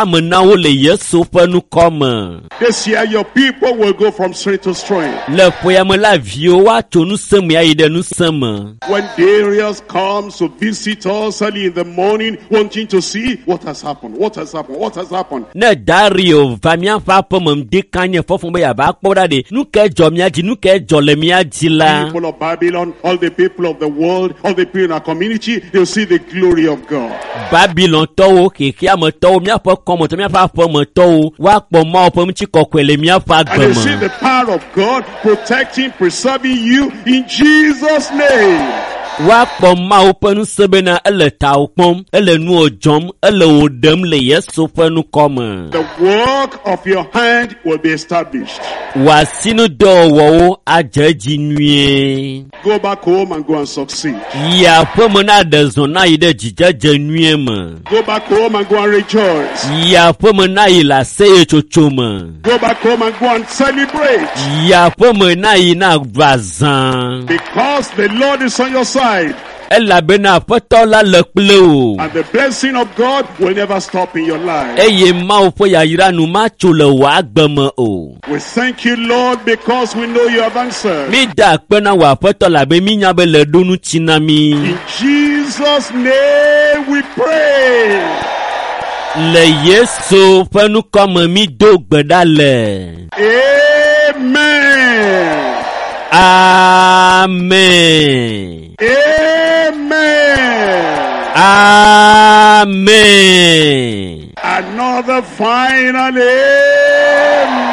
ame na wo le Yesu ƒe ŋkɔ me. This year, your people will go from strength to strength. Le ƒea me la, viwo woatso ŋusẽ me ayi ɖe ŋusẽ me. When Darius comes to visit us early in the morning, wanting to see what has happened, what has happened, what has happened. Ne Dario va míaƒe aƒeme ŋdi kanye fɔfɔ be yeava kpɔ ɖa ɖe, nu kae dzɔ mía dzi, nu kae dzɔ le mía dzi la? People of Babylon, all the people of the world, all the people in our community, they'll see the glory of God. Babilontɔwo, xexeametɔwo, míaƒe kɔmetɔwo, míaƒe aƒemetɔwo, woakpɔ Mawu ƒe ŋutikɔkɔe le míaƒe And agbe they'll see me. the power of God protecting, preserving you in Jesus' name. Woakpɔ Mawu ƒe ŋusẽ bena ele tawò kpɔm, ele nuwò dzɔm, ele wò ɖem le Yesu ƒe ŋkɔ me. The work of your hand will be established. Wò asinudɔwɔwɔwo adze edzi nyuie. Go back home and go and succeed. Yi aƒeme na ɖe zɔ na yi ɖe dzidzedze nyuie me. Go back home and go and rejoice. Yi aƒeme na yi le aseyetsotso me. Go back home and go and celebrate. Yi aƒeme na yi na ɖu azã. Because the Lord is on your side. Elabena Aƒetɔ la le kple wò. And the blessing of God will never stop in your life. Eye Mawu ƒe yayra nu matso le wò agbe me o. We thank you, Lord, because we know you have answered. Mi da akpe na wò Aƒetɔ labe mi nya be le ɖo ŋuti na mi. In Jesus' name we pray. Le Yesu ƒe ŋkɔ me mi do gbe ɖa le. Amen. Amen. Amen. Amen. Another final amen.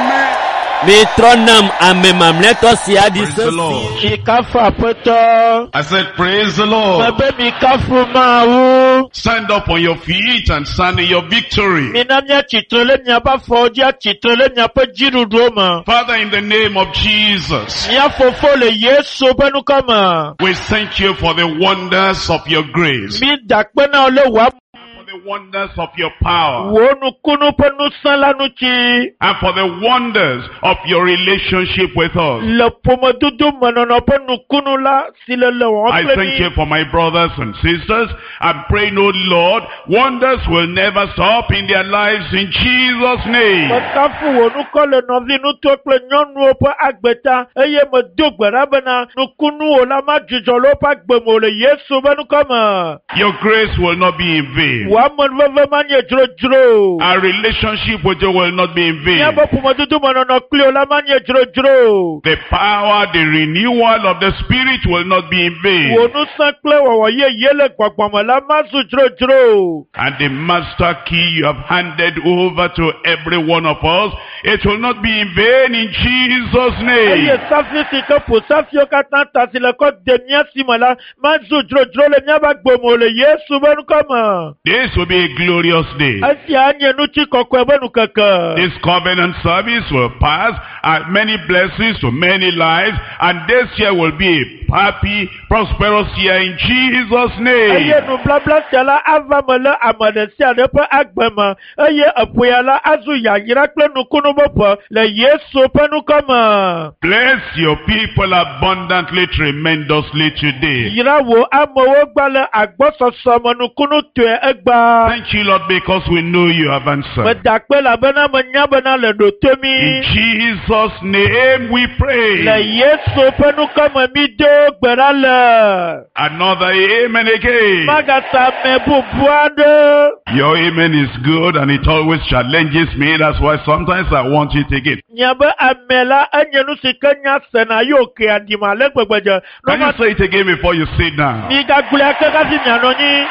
Mi trɔ nam ame mamlɛtɔ sia ɖi Praise the Lord. sesi. Mikafu Aƒetɔ. I said, praise the Lord. Mebe mikafu Mawu. Stand up on your feet and stand in your victory. Mina míatsitre le miaƒe afɔwo dzi atsitre le miaƒe dziɖuɖuwo me. Father, in the name of Jesus, Mía fofo le Yesu ƒe ŋkɔ me. we thank you for the wonders of your grace, Mi da akpe na wò le wò for the wonders of your power, wò nukunu ƒe ŋusẽ la ŋuti. and for the wonders of your relationship with us. Le ƒomedodo menɔnɔ ƒe nukunu la si le le wɔm I kple thank you mí. for my brothers and sisters. I'm praying, oh Lord, wonders will never stop in their lives in Jesus' name. Mekafu wò ŋkɔ le nɔvi ŋutsuwo kple nyɔnuwo ƒe agbe ta eye medo gbe ɖa bena nukunuwo la madzudzɔ le woƒe agbe me o le Yesu ƒe ŋkɔ me. Your grace will not be in vain. Wò amenuveve manye dzrodzro o. Our relationship with you will not be in vain. Míaƒe ƒomedodo menɔnɔ kpli wo la manye dzrodzro o. The power, the renewal of the Spirit will not be in vain. Wò ŋusẽ kple wɔwɔ yeye le gbɔgbɔme la mazu dzrodzro o. And the master key you have handed over to every one of us, it will not be in vain in Jesus' Eye name. safi si ke ƒo safiwo katã ta si le kɔ de mía si me la mazu dzrodzro le míaƒe agbe me o le Yesu ƒe ŋkɔ me. This will be a glorious day. Esia nye ŋutikɔkɔe ƒe ŋkeke. This covenant service will pass and many blessings to many lives, and this year will be a happy, prosperous year in Jesus' Eye name. nublabla sia la ava me le ame ɖe sia ɖe ƒe agbe me eye eƒoya la azu yayra kple nukunu ƒe ƒe le Yesu ƒe ŋkɔ me. Bless your people abundantly, tremendously today. Yra wò amewo gba le agbɔsɔsɔ me nukunutɔe egbea. Thank you, Lord, because we know you have answered. Meda akpe elabena menya bena le ɖo to In mí. Jesus' name we Le pray. Yesu ƒe ŋkɔ me mi do gbe ɖa le. Another amen again. Magasa ame bubu aɖe. Your amen is good and it always challenges me. That's why sometimes I want it again. Nye be ame la enye nu si ke nya sena ye wòke aɖima ale gbegbe dze. Can you say it again before you sit down? Migagblɔe ake hafi mianɔ anyi.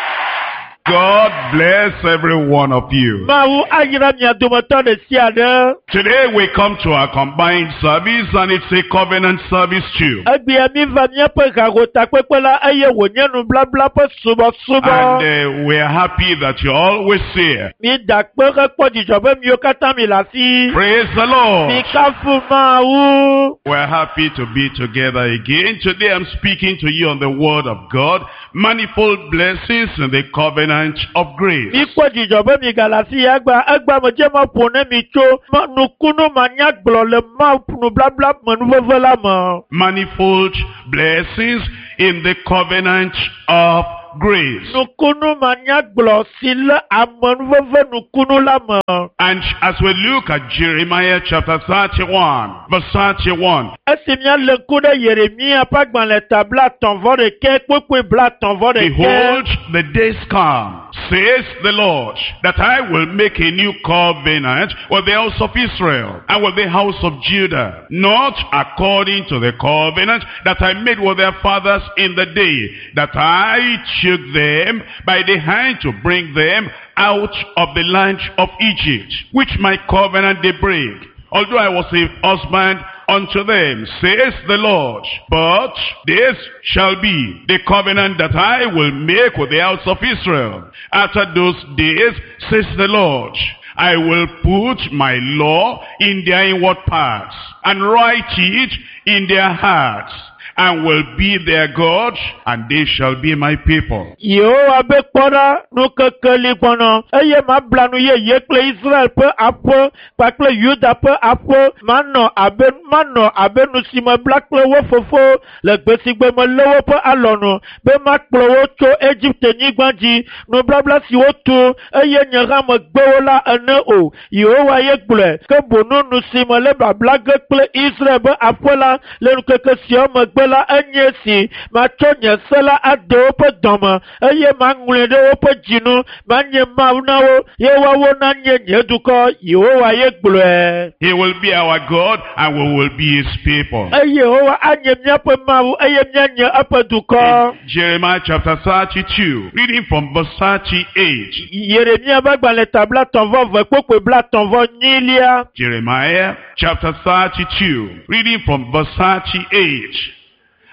God bless every one of you. Mawu ayra mia dometɔ ɖe sia ɖe. Today we come to our combined service and it's a covenant service too. Egbea mi va míaƒe hahotakpekpe la eye wònye nublabla ƒe subɔsubɔ. And we are happy that you're always here. Mi da akpe hekpɔ dzidzɔ be miwo katã mi le afi. Praise the Lord. Mikafu Mawu. We're happy to be together again. Today I'm speaking to you on the word of God, manifold blessings in the covenant of grace. Mikpɔ dzidzɔ be mi gale afi ya gba egba me dze ma ƒo ne mi tso ma nukunu manyagblɔ le Mawu nublabla menuveve la me. Manifold blessings in the covenant of grace. Nukunu manyagblɔ si le amenuveve nukunu la me. And as we look at Jeremiah chapter 31, verse 31, Esi míalé ŋku ɖe Yeremia ƒe agbalẽ ta 31 kpukpui 31. Behold, the days come, says the Lord, that I will make a new covenant with the house of Israel and with the house of Judah, not according to the covenant that I made with their fathers in the day that I took them by the hand to bring them out of the land of Egypt, which my covenant they break. Although I was a husband unto them, says the Lord. But this shall be the covenant that I will make with the house of Israel. After those days, says the Lord, I will put my law in their inward parts and write it in their hearts, and will be their God, and they shall be my people. Yehowa be kpɔ ɖa nukeke li gbɔnɔ eye mabla nu yeye kple Israel ƒe aƒe kpakple Yuda ƒe aƒe manɔ abe manɔ abe nu si mebla kple wo fofo le gbe si gbe melé woƒe alɔnu be makplɔ wo tso Egipte nyigba dzi nubabla si wotu eye nye hã megbe wo la ene o. Yehowa ye gblɔe ke boŋ nu si mele babla ge kple Israel ƒe aƒe la le ŋkeke siawo megbe la enye si matsɔ nye se la ade woƒe dɔme eye maŋlɔe ɖe woƒe dzinu manye Mawu na wo ye woawo nanye nye dukɔ. Yehowa ye gblɔe. He will be our God, and we will be his people. Eye Yehowa anye míaƒe Mawu eye míanye eƒe dukɔ. In Jeremiah chapter 32, reading from verse 38. Yeremia ƒe agbalẽ ta 32 kpukpui 34. Jeremiah chapter 32, reading from verse 38.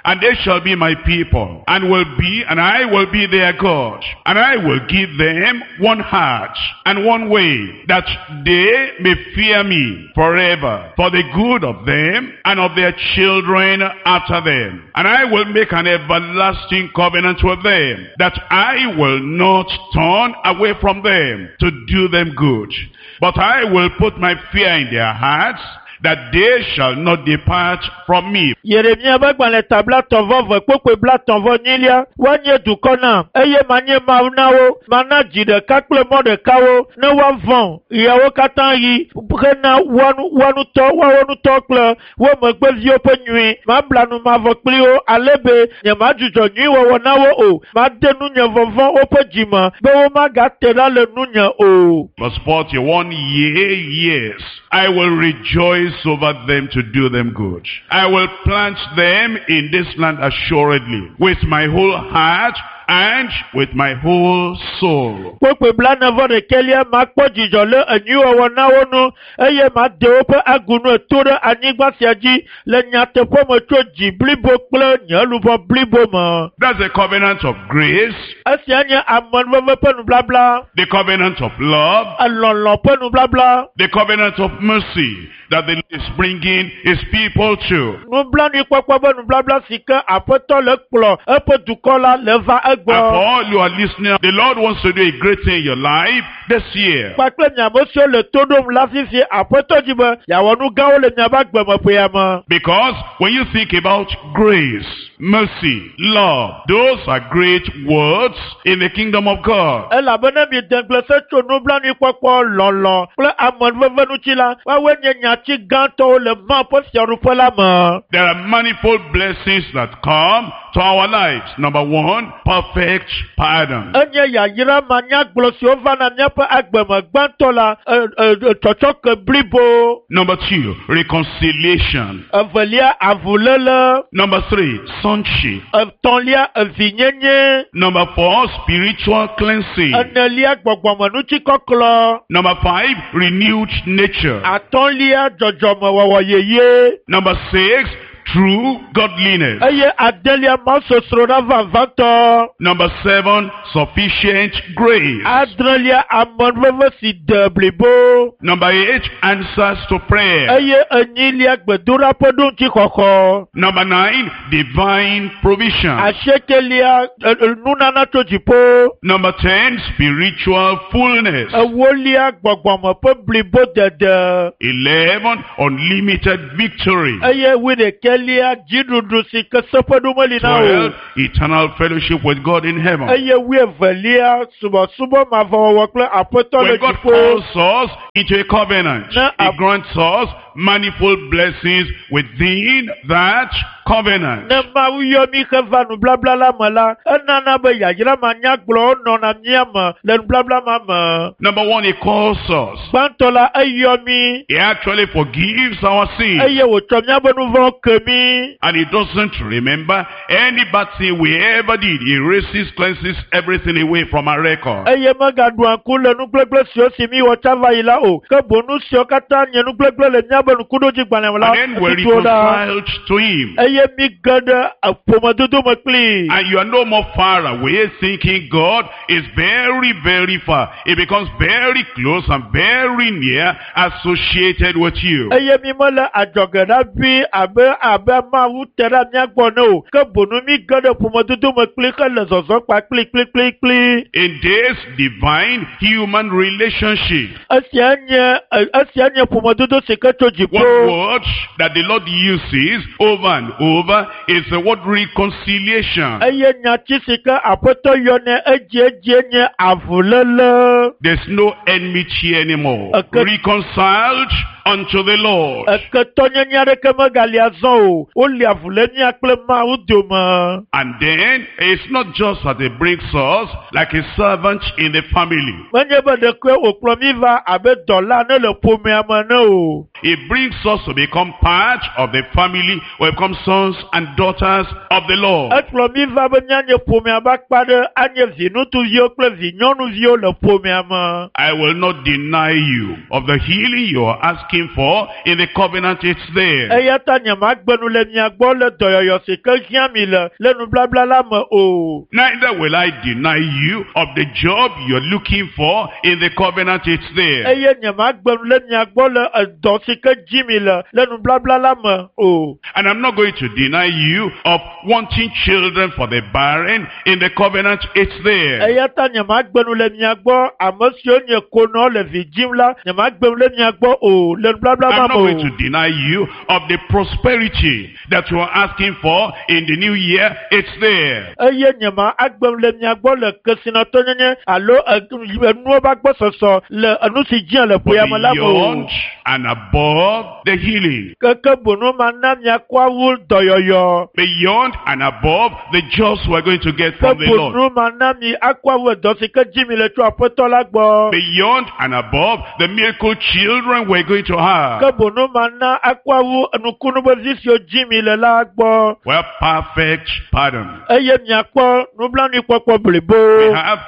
And they shall be my people, and will be, and I will be their God, and I will give them one heart and one way, that they may fear me forever, for the good of them and of their children after them. And I will make an everlasting covenant with them, that I will not turn away from them to do them good. But I will put my fear in their hearts, that they shall not depart from me. Yeremia ƒe agbalẽ ta 32 kpukpui 34 woanye dukɔ nam eye manye Mawu na wo mana dzi ɖeka kple mɔ ɖeka wo ne woavɔ̃ ɣeawo katã ɣi hena woa ŋutɔ woawo ŋutɔ kple wo megbeviwo ƒe nyui mabla nu mavɔ kpli wo ale be nyemadzudzɔ nyuiwɔwɔ na wo o made nunye vɔvɔ̃ woƒe dzime be womagate ɖa le nunye o. Verse 41, yea, yes, I will rejoice over them to do them good. I will plant them in this land assuredly, with my whole heart and with my whole soul. Kpukpui 41 makpɔ dzidzɔ le enyuiwɔwɔ na wo nu eye made woƒe agunu eto ɖe anyigba sia dzi le nyateƒe me tso dzi blibo kple nye luʋɔ blibo me. That's the covenant of grace, Esia nye amenuveve ƒe nublabla, the covenant of love, elɔlɔ̃ ƒe nublabla, the covenant of mercy that the Lord is bringing his people to. nublanuikpɔkpɔ ƒe nublabla si ke Aƒetɔ le kplɔ eƒe dukɔ la le va And for egbɔ. all you are listening, the Lord wants to do a great thing in your life this year. Kpakple miame siwo le to ɖom la fifie Aƒetɔ dzi be yeawɔ nu gãwo le miaƒe agbemeƒea me. Because when you think about grace, mercy, love, those are great words in the kingdom of God. Elabena miede ŋugble se tso nublanuikpɔkpɔ, lɔlɔ̃ kple amenuveve ŋuti la, woawoe nye nyati gãtɔwo le Mawu ƒe fiaɖuƒe la me. There are manifold blessings that come to our lives. Number one, perfect pardon. Enye yayra manyagblɔ siwo vana míaƒe agbeme gbãtɔ la, tsɔtsɔke blibo. Number two, reconciliation. Evelia, avuléle. Number three, sonship. Etɔ̃lia, evinyenye. Number four, spiritual cleansing. Enelia, gbɔgbɔmenutikɔklɔ. Number five, renewed nature. Atɔ̃lia, dzɔdzɔmewɔwɔ yeye. Number six, true godliness. Eye adelia, mawusosroɖa vavãtɔ. Number seven, sufficient grace. Adrelia, amenuveve si de blibo. Number eight, answers to prayer. Eye enyilia, gbedoɖa ƒe ɖoŋutixɔxɔ. Number nine, divine provision. Asiekelia, nunana tso dziƒo. Number 10, spiritual fullness. Ewolia, gbɔgbɔme ƒe blibodede. 11, unlimited victory. Eye wuiɖekɛlia, Wuenelia dziɖuɖu si ke seƒeɖo meli na o. 12, eternal fellowship with God in heaven. Eye wuievelia subɔsubɔ mavɔwɔwɔ kple aƒetɔ le When God dziƒo. calls us into a covenant, Na- He grants us manifold blessings within that covenant. Ne Mawu yɔ mí heva nublabla la me la, enana be yayra manyagblɔwo nɔna mía me le nublabla ma me. Number one, He calls us. Gbãtɔ la, eyɔ mí He actually forgives our sins. eye wòtsɔ míaƒe nu vɔ̃wo ke mí. And he doesn't remember any bad thing we ever did. He erases, cleanses everything away from our record. Eye megaɖua ŋku le nugblegble siwo si mí wɔ tsã va yi la o. Ke boŋ nu siwo katã nye nugblegble le míaƒe ŋkuɖodzigbalẽ me la, And then we're etutu wo ɖa. reconciled to him. Eye mí ge ɖe ƒomedodo me kplii. And you are no more far away thinking God is very, very far. He becomes very close and very near associated with you. Eye mi mele adzɔge ɖa vi abe abe Mawu te ɖe mía gbɔ ne o. Ke boŋ mí ge ɖe ƒomedodo me kpli hele zɔzɔm kpakpli kplikplikpli. In this divine human relationship, Esia nye esia nye ƒomedodo si ke tso dziƒo. one word that the Lord uses over and over is the word reconciliation. Eye nyati si ke aƒetɔ yɔnɛ edziedzie nye avuléle. There's no enmity anymore. Okay. Reconciled unto the Lord. Eketɔnyenye aɖeke megali azɔ o. Woli avu le mía kple Mawu dome. And then it's not just that it brings us like a servant in the family. Menye be ɖekoe wòkplɔ mí va abe dɔla ne le ƒomea me ne o. It brings us to become part of the family. We become sons and daughters of the Lord. Ekplɔ mí va be míanye ƒomea ƒe akpa ɖe anye viŋutsuviwo kple vinyɔnuviwo le ƒomea me. I will not deny you of the healing you are asking for in the covenant. It's there. Eya ta nyemagbe nu le mia gbɔ le dɔyɔyɔ si ke hiã mi le le nublabla la me o. Neither will I deny you of the job you're looking for in the covenant. It's there. Eye nyemagbe nu le mia gbɔ le edɔ si ke dzi mi le le nublabla la me o. And I'm not going to deny you of wanting children for the barren in the covenant. It's there. Eya ta nyemagbe nu le mia gbɔ ame siwo nye konɔ le vi dzim la nyemagbe nu le mia gbɔ o le nublabla ma I'm not me going o. to deny you of the prosperity that you are asking for in the new year. It's there. Eye nyema agbe nu le mia gbɔ le kesinɔtɔnyenye alo enuwo ƒe agbɔsɔsɔ le enu si dzia le But ƒea me la me o. beyond and above the healing, Keke bonu ma na miakɔ awu dɔyɔyɔ. beyond and above the jobs we're going to get Ke from the Lord, bonu ma na mi akɔ awu edɔ si ke dzi mi le tso aƒetɔ la gbɔ. beyond and above the miracle children we're going to have. Ke bonu ma na akɔ awu nukunu be vi siwo dzi mi le la gbɔ. Well, perfect pardon. Eye miakpɔ nublanuikpɔkpɔ blibo. We have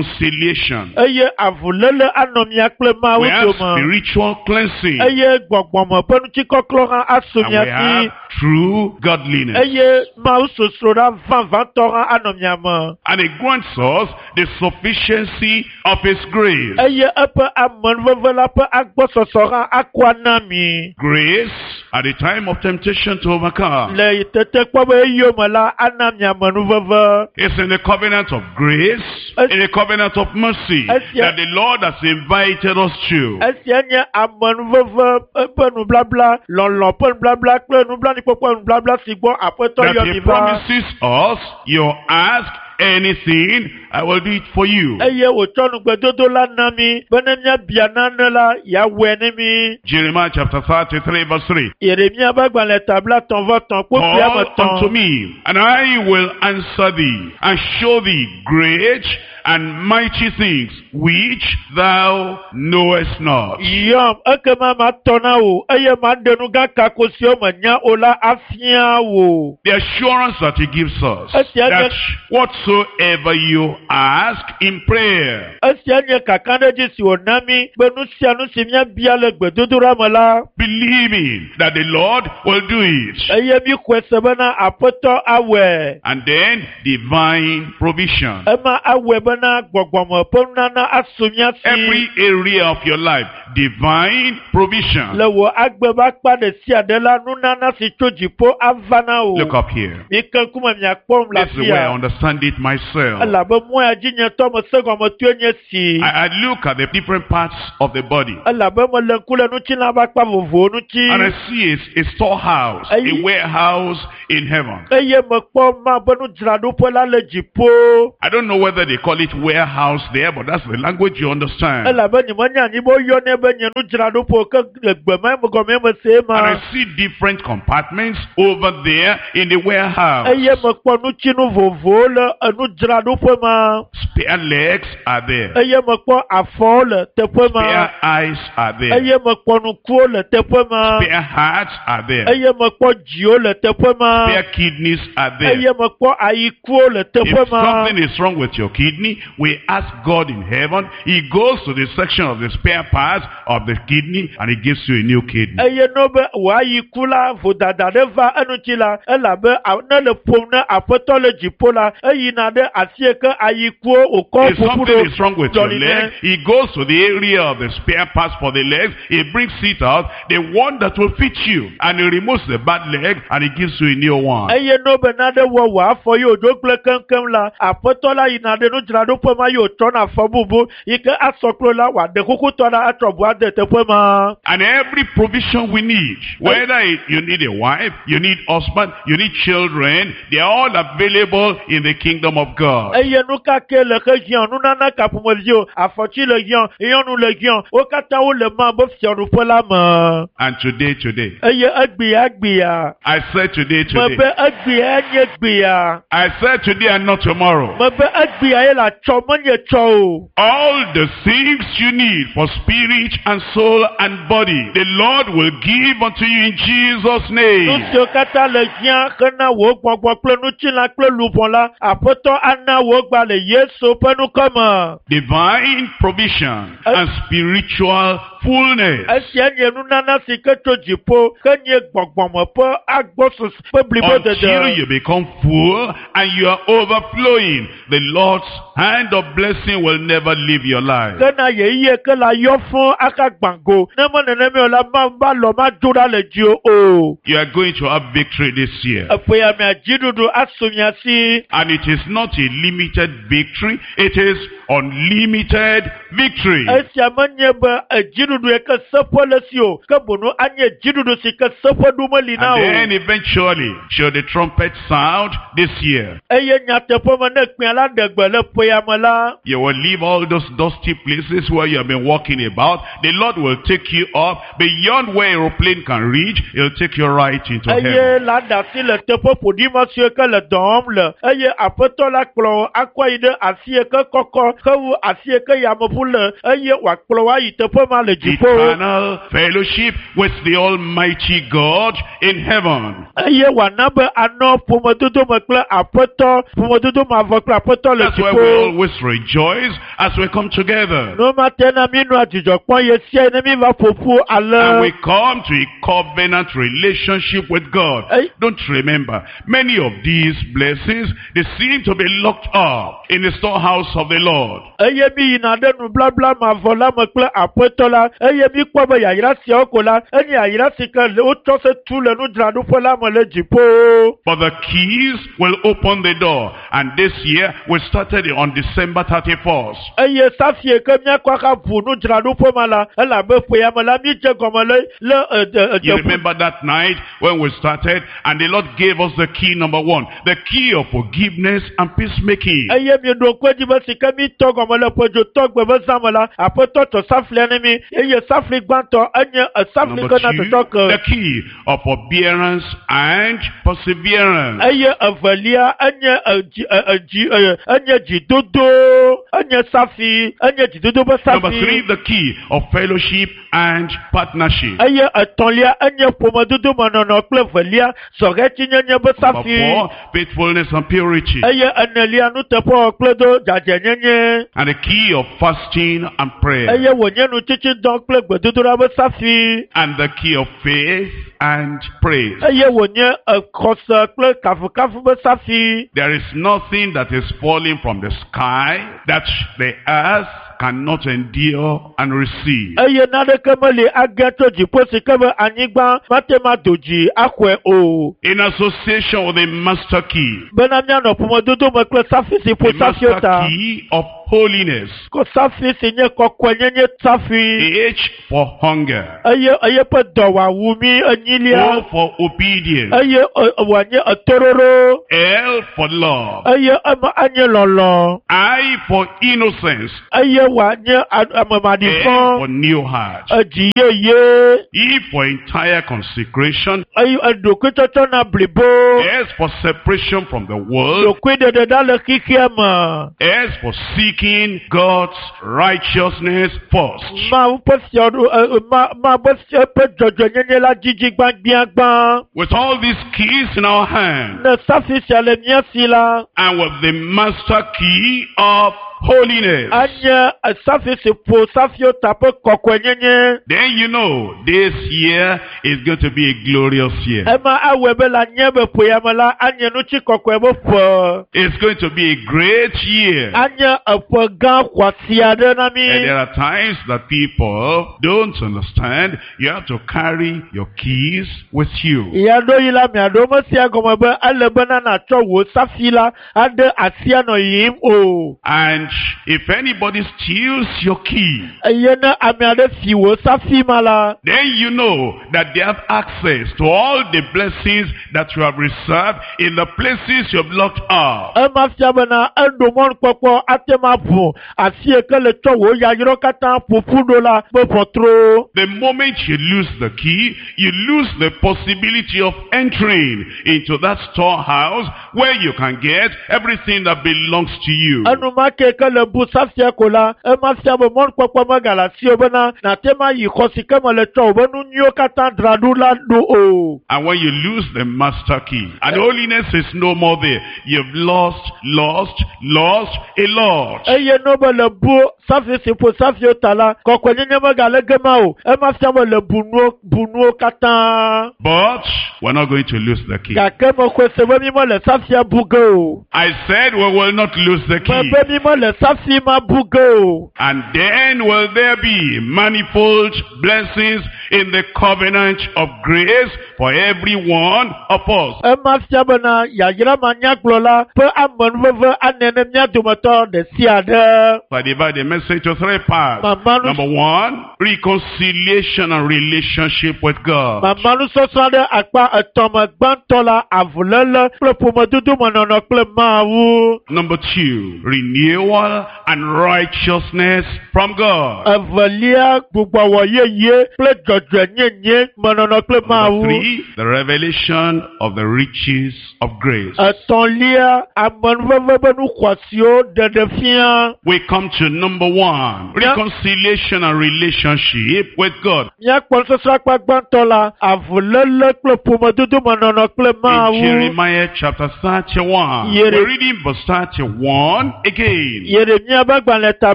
reconciliation. Eye avuléle anɔ mia kple Mawu We have dome. spiritual cleansing. Eye gbɔgbɔme ƒe ŋutikɔklɔ hã asu And mia we si. have true godliness. Eye Mawu sosroɖa vavãtɔ hã anɔ mia me. And it grants us the sufficiency of His grace. Eye eƒe amenuveve la ƒe agbɔsɔsɔ hã akɔ ana mi. Grace at the time of temptation to overcome. Le tetekpɔ be eyome la ana mi amenuveve. It's in the covenant of grace, in the covenant of mercy that the Lord has invited us to. Esia nye amenuveve ƒe nublabla, lɔlɔ ƒe nublabla kple nublanuikpɔkpɔ nublabla si gbɔ Aƒetɔ That yɔ He mi va. promises us, you ask anything, I will do it for you. Eye wòtsɔ nugbedodo la na mi be ne míabia nane la, yeawɔe ne mi. Jeremiah chapter 33 verse 3. Yeremia ƒe agbalẽ ta 33 kpukpui ame Call unto etɔ̃. me, and I will answer thee, and show thee great and mighty things which thou knowest not. Yɔm ekema matɔ na wò eye maɖe nu gã kako siwo mènya o la afia wò. The assurance that he gives us Esia that nye whatsoever you ask in prayer, esia nye kakaɖedzi si wòna mí be nu sia nu si míabia le gbedodoɖa me la, believing that the Lord will do it. eye míxɔe se bena Aƒetɔ awɔe. And then divine provision. Ema awɔe bena gbɔgbɔme ƒe nunana asu mía si Every area of your life, divine provision. le wò agbe ƒe akpa ɖe sia ɖe la, nunana si tso dziƒo ava na wò. Look up here. Mike ŋkume miakpɔm le This is the way I afia. understand it it myself. Elabe mɔ ya dzi nye tɔ me se gɔme toe nye si. I look at the different parts of the body. Elabe mele ŋku le ŋutilã ƒe akpa vovovowo ŋuti. And I see a storehouse, a warehouse in heaven. Eye mekpɔ ma be nudzraɖoƒe la le dziƒo. I don't know whether they call it warehouse there, but that's the language you understand. Elabe nyemenya anyi be woyɔnɛ be nye nudzraɖoƒe o, ke le gbe ma me gɔmee mese And ma. I see different compartments over there in the warehouse. Eye mekpɔ nutsinu vovovowo le enudzraɖoƒe ma. Spare legs are there. Eye mekpɔ afɔwo le teƒe ma. Spare eyes are there. Eye mekpɔ nukuwo le teƒe ma. Spare hearts are there. Eye mekpɔ dziwo le teƒe ma. Spare kidneys are there. Eye mekpɔ ayikuwo le teƒe If ma. something is wrong with your kidney, we ask God in heaven. He goes to the section of the spare parts of the kidney and he gives you a new kidney. Eye no be wò ayiku la vodada ɖe va eŋuti la, elabe ne le ƒom ne aƒetɔ le dziƒo la, eyina ɖe afi yi ke ayikuwo wòkɔ If ƒoƒu something ɖo is wrong with your dzɔli leg, nɛ. he goes to the area of the spare parts for the legs. He brings it out, the one that will fit you, and he removes the bad leg and he gives you a new one. Eye no be nane wɔ wò afɔ yi wòdzo gblẽ keŋkeŋ la, aƒetɔ la yina ɖe nudzraɖoƒe ma yi wòtsɔna afɔ bubu yi ke asɔ kplo la wòaɖe kukutɔ ɖa atsɔ bu ade teƒe ma. And every provision we need, whether you need a wife, you need husband, you need children, they are all available in the kingdom of God. Eye nu ka ke le xe hiã, nunana ka ƒomevi o, afɔtsi le hiã, nyɔnu le hiã, wo katã wole ma be fiaɖuƒe la me. And today, Eye egbea gbea, I said today, today. mebe egbea nye gbea, I said today and not tomorrow. mebe egbea ye le atsɔ menye tsɔ o. All the things you need for spirit and soul and body, the Lord will give unto you in Jesus' Nu name. siwo katã le hiã hena wò gbɔgbɔ kple ŋutilã kple luʋɔ la, aƒetɔ ana wò gba le Yesu ƒe ŋkɔ me. Divine provision and spiritual fullness. Esia nye nunana si ke tso dziƒo, ke nye gbɔgbɔme ƒe agbɔsɔsɔ ƒe Until blibodede. you become full and you are overflowing, the Lord's hand of blessing will never leave your life. Ke na yeyiye ke la yɔ fũ aka gbã go. Ne me nenema o la, ma va lɔ ma dzo ɖa le dziwò o. You are going to have victory this year. Eƒe ya mea dziɖuɖu asu mia si. And it is not a limited victory, it is unlimited victory. Esia menye be edziɖuɖu yi ke seƒe le si o, ke boŋu anye dziɖuɖu si ke seƒe ɖu meli na And o. then eventually, should the trumpet sound this year, Eye nyateƒe me ne kpẽ la ɖe gbe le ƒe ya me la, you will leave all those dusty places where you have been walking about. The Lord will take you up beyond where aeroplane can reach. He'll take you right into eye heaven. la ɖe asi le teƒe ƒoɖi ma siwo ke le dɔ wɔm le eye aƒetɔ la kplɔ wò akɔ yi ɖe afi yi ke kɔkɔ hewu afi yi ke yameʋu le eye wòakplɔ wò ayi teƒe ma le dziƒo. Eternal fellowship with the Almighty God in heaven. Eye wòana be anɔ ƒomedodo me kple aƒetɔ ƒomedodo mavɔ kple aƒetɔ le That's why we dziƒo. always rejoice as we come together. Nu ma te na mi nɔa dzidzɔ kpɔm ɣe sia ɣi ne mi va ƒoƒu And ale. we come to a covenant relationship with God. Hey. Don't remember, many of these blessings, they seem to be locked up in the storehouse of the Lord. Eye mi yina ɖe nublabla mavɔ la me kple aƒetɔ la eye mi kpɔ be yayra siawo ko la enye yayra si ke le- wotsɔ se tu le nudzraɖoƒe la me le dziƒo. But the keys will open the door. And this year, we started on December 31st. Eye safie ke míakɔ aka ʋu nudzraɖoƒe ma la elabe ƒe ya me la mi dze gɔme le le ede You ede remember that night when we started and the Lord gave us the key number one, the key of forgiveness and peacemaking. eye mi ɖo ŋku edzi be si ke mi tɔ gɔme le ƒedzotɔ gbe be zã me la aƒetɔ tsɔ saflia ne mi eye safli gbãtɔ enye esafli Number ke na two, tsɔtsɔ ke. the key of forbearance and perseverance. Eye evelia enye edzi e- edzi e- enye dzidodo enye safi enye dzidodo ƒe Number three, safi the key of fellowship and partnership. eye etɔ̃lia enye ƒomedodo menɔnɔ kple velia zɔhɛtsinyenye ƒe Number safi four, faithfulness and purity. eye enelia nuteƒewɔwɔ kple do dzadzɛnyenye And the key of fasting and prayer. eye wònye nutsitsidɔ kple gbedodoɖa ƒe safi And the key of faith and praise. eye wònye exɔse kple kafukafu ƒe safi There is nothing that is falling from the sky that the earth cannot endure and receive. Eye naneke meli age tso dziƒo si ke be anyigba mate ma do dzi axɔe o. In association with the master key, Bena míanɔ ƒomedodo me kple safi si ƒo the safiwo master ta. key of holiness, Ko safi si nye kɔkɔenyenye safi. H for hunger, Eye eye ƒe dɔ wòawu mí enyilia. O for obedience, Eye wòanye etoɖoɖo. L for love, Eye ema anye lɔlɔ. I for innocence, Eye wòanye ame N maɖifɔ. for new heart, Edzi yeye. E for entire consecration, Eye eɖokuitsɔtsɔ na blibo. S for separation from the world, Ɖokuiɖeɖeɖa le xexea me. S for seeking God's righteousness first. Mawu ƒe fiaɖu Mawu ƒe fia ƒe dzɔdzɔenyenye la dzidzi gbãgbiagbã. With all these keys in our hand Ne safi sia le mía si la, and with the master key of holiness, anye safi si ƒo safiwo ta ƒe kɔkɔenyenye. then you know this year is going to be a glorious year. Ema awɔe be le anye be ƒe ya me la, anye nutsi kɔkɔe be ƒe. It's going to be a great year. Anye eƒe gã xɔasi aɖe na mí. And there are times that people don't understand. You have to carry your keys with you. Ya ɖo yi la miaɖo mesia gɔme be ele bena nàtsɔ wò safi la aɖe asi anɔ yiyim o. And if anybody steals your key, Eye ne ame aɖe fi wò safi ma la, then you know that they have access to all the blessings that you have reserved in the places you have locked up. Ema fia bena eɖo mɔnukpɔkpɔ ate ma ʋu asi yi ke le tsɔ wò yayrɔ katã ƒoƒu ɖo la ƒe ʋɔtruwo. The moment you lose the key, you lose the possibility of entering into that storehouse where you can get everything that belongs to you. Enumake ke le bu safia ko la, ema fia be mɔnukpɔkpɔ megale asiwò bena nàte ma yi xɔ si ke me le tsɔ wò be nu nyuiwo katã dzra ɖo la ɖo o. And when you lose the master key, and holiness is no more there, you've lost, lost, lost a lot. Eye ne be le bu safi si ƒo safiwo ta la, kɔkɔenyenye megale gema o. Ema fia be le bu nuwo bu nuwo katã. But we're not going to lose the key. Gake mexɔe se be mi mele safia bu ge o. I said we will not lose the key. Mebe mi mele safi ma bu ge o. And then will there be manifold blessings in the covenant of grace for every one of us. Ema fia bena yayra manyagblɔ la ƒe amenuveve anɛ ne mía dometɔ ɖe sia ɖe. So I divide the message to three parts. Mama nu Number one, reconciliation and relationship with God. Mama nusɔsrɔ̃ ɖe akpa etɔ̃ me gbãtɔ la avuléle kple ƒomedodomenɔnɔ kple Mawu. Number two, renewal and righteousness from God. Evelia gbugbɔwɔ yeye kple dzɔdzɔenyenye menɔnɔ kple Number Mawu. three, the revelation of the riches of grace. Etɔ̃lia amenuveve be nu xɔasiwo ɖeɖe fia. We come to number one, Yeah. reconciliation and relationship with God. Míakpɔ nusɔsrɔ̃ akpa gbãtɔ la avuléle kple ƒomedodomenɔnɔ kple In Mawu. Jeremiah chapter 31, Yere- we're reading verse 31 again. Yeremia ƒe agbalẽ ta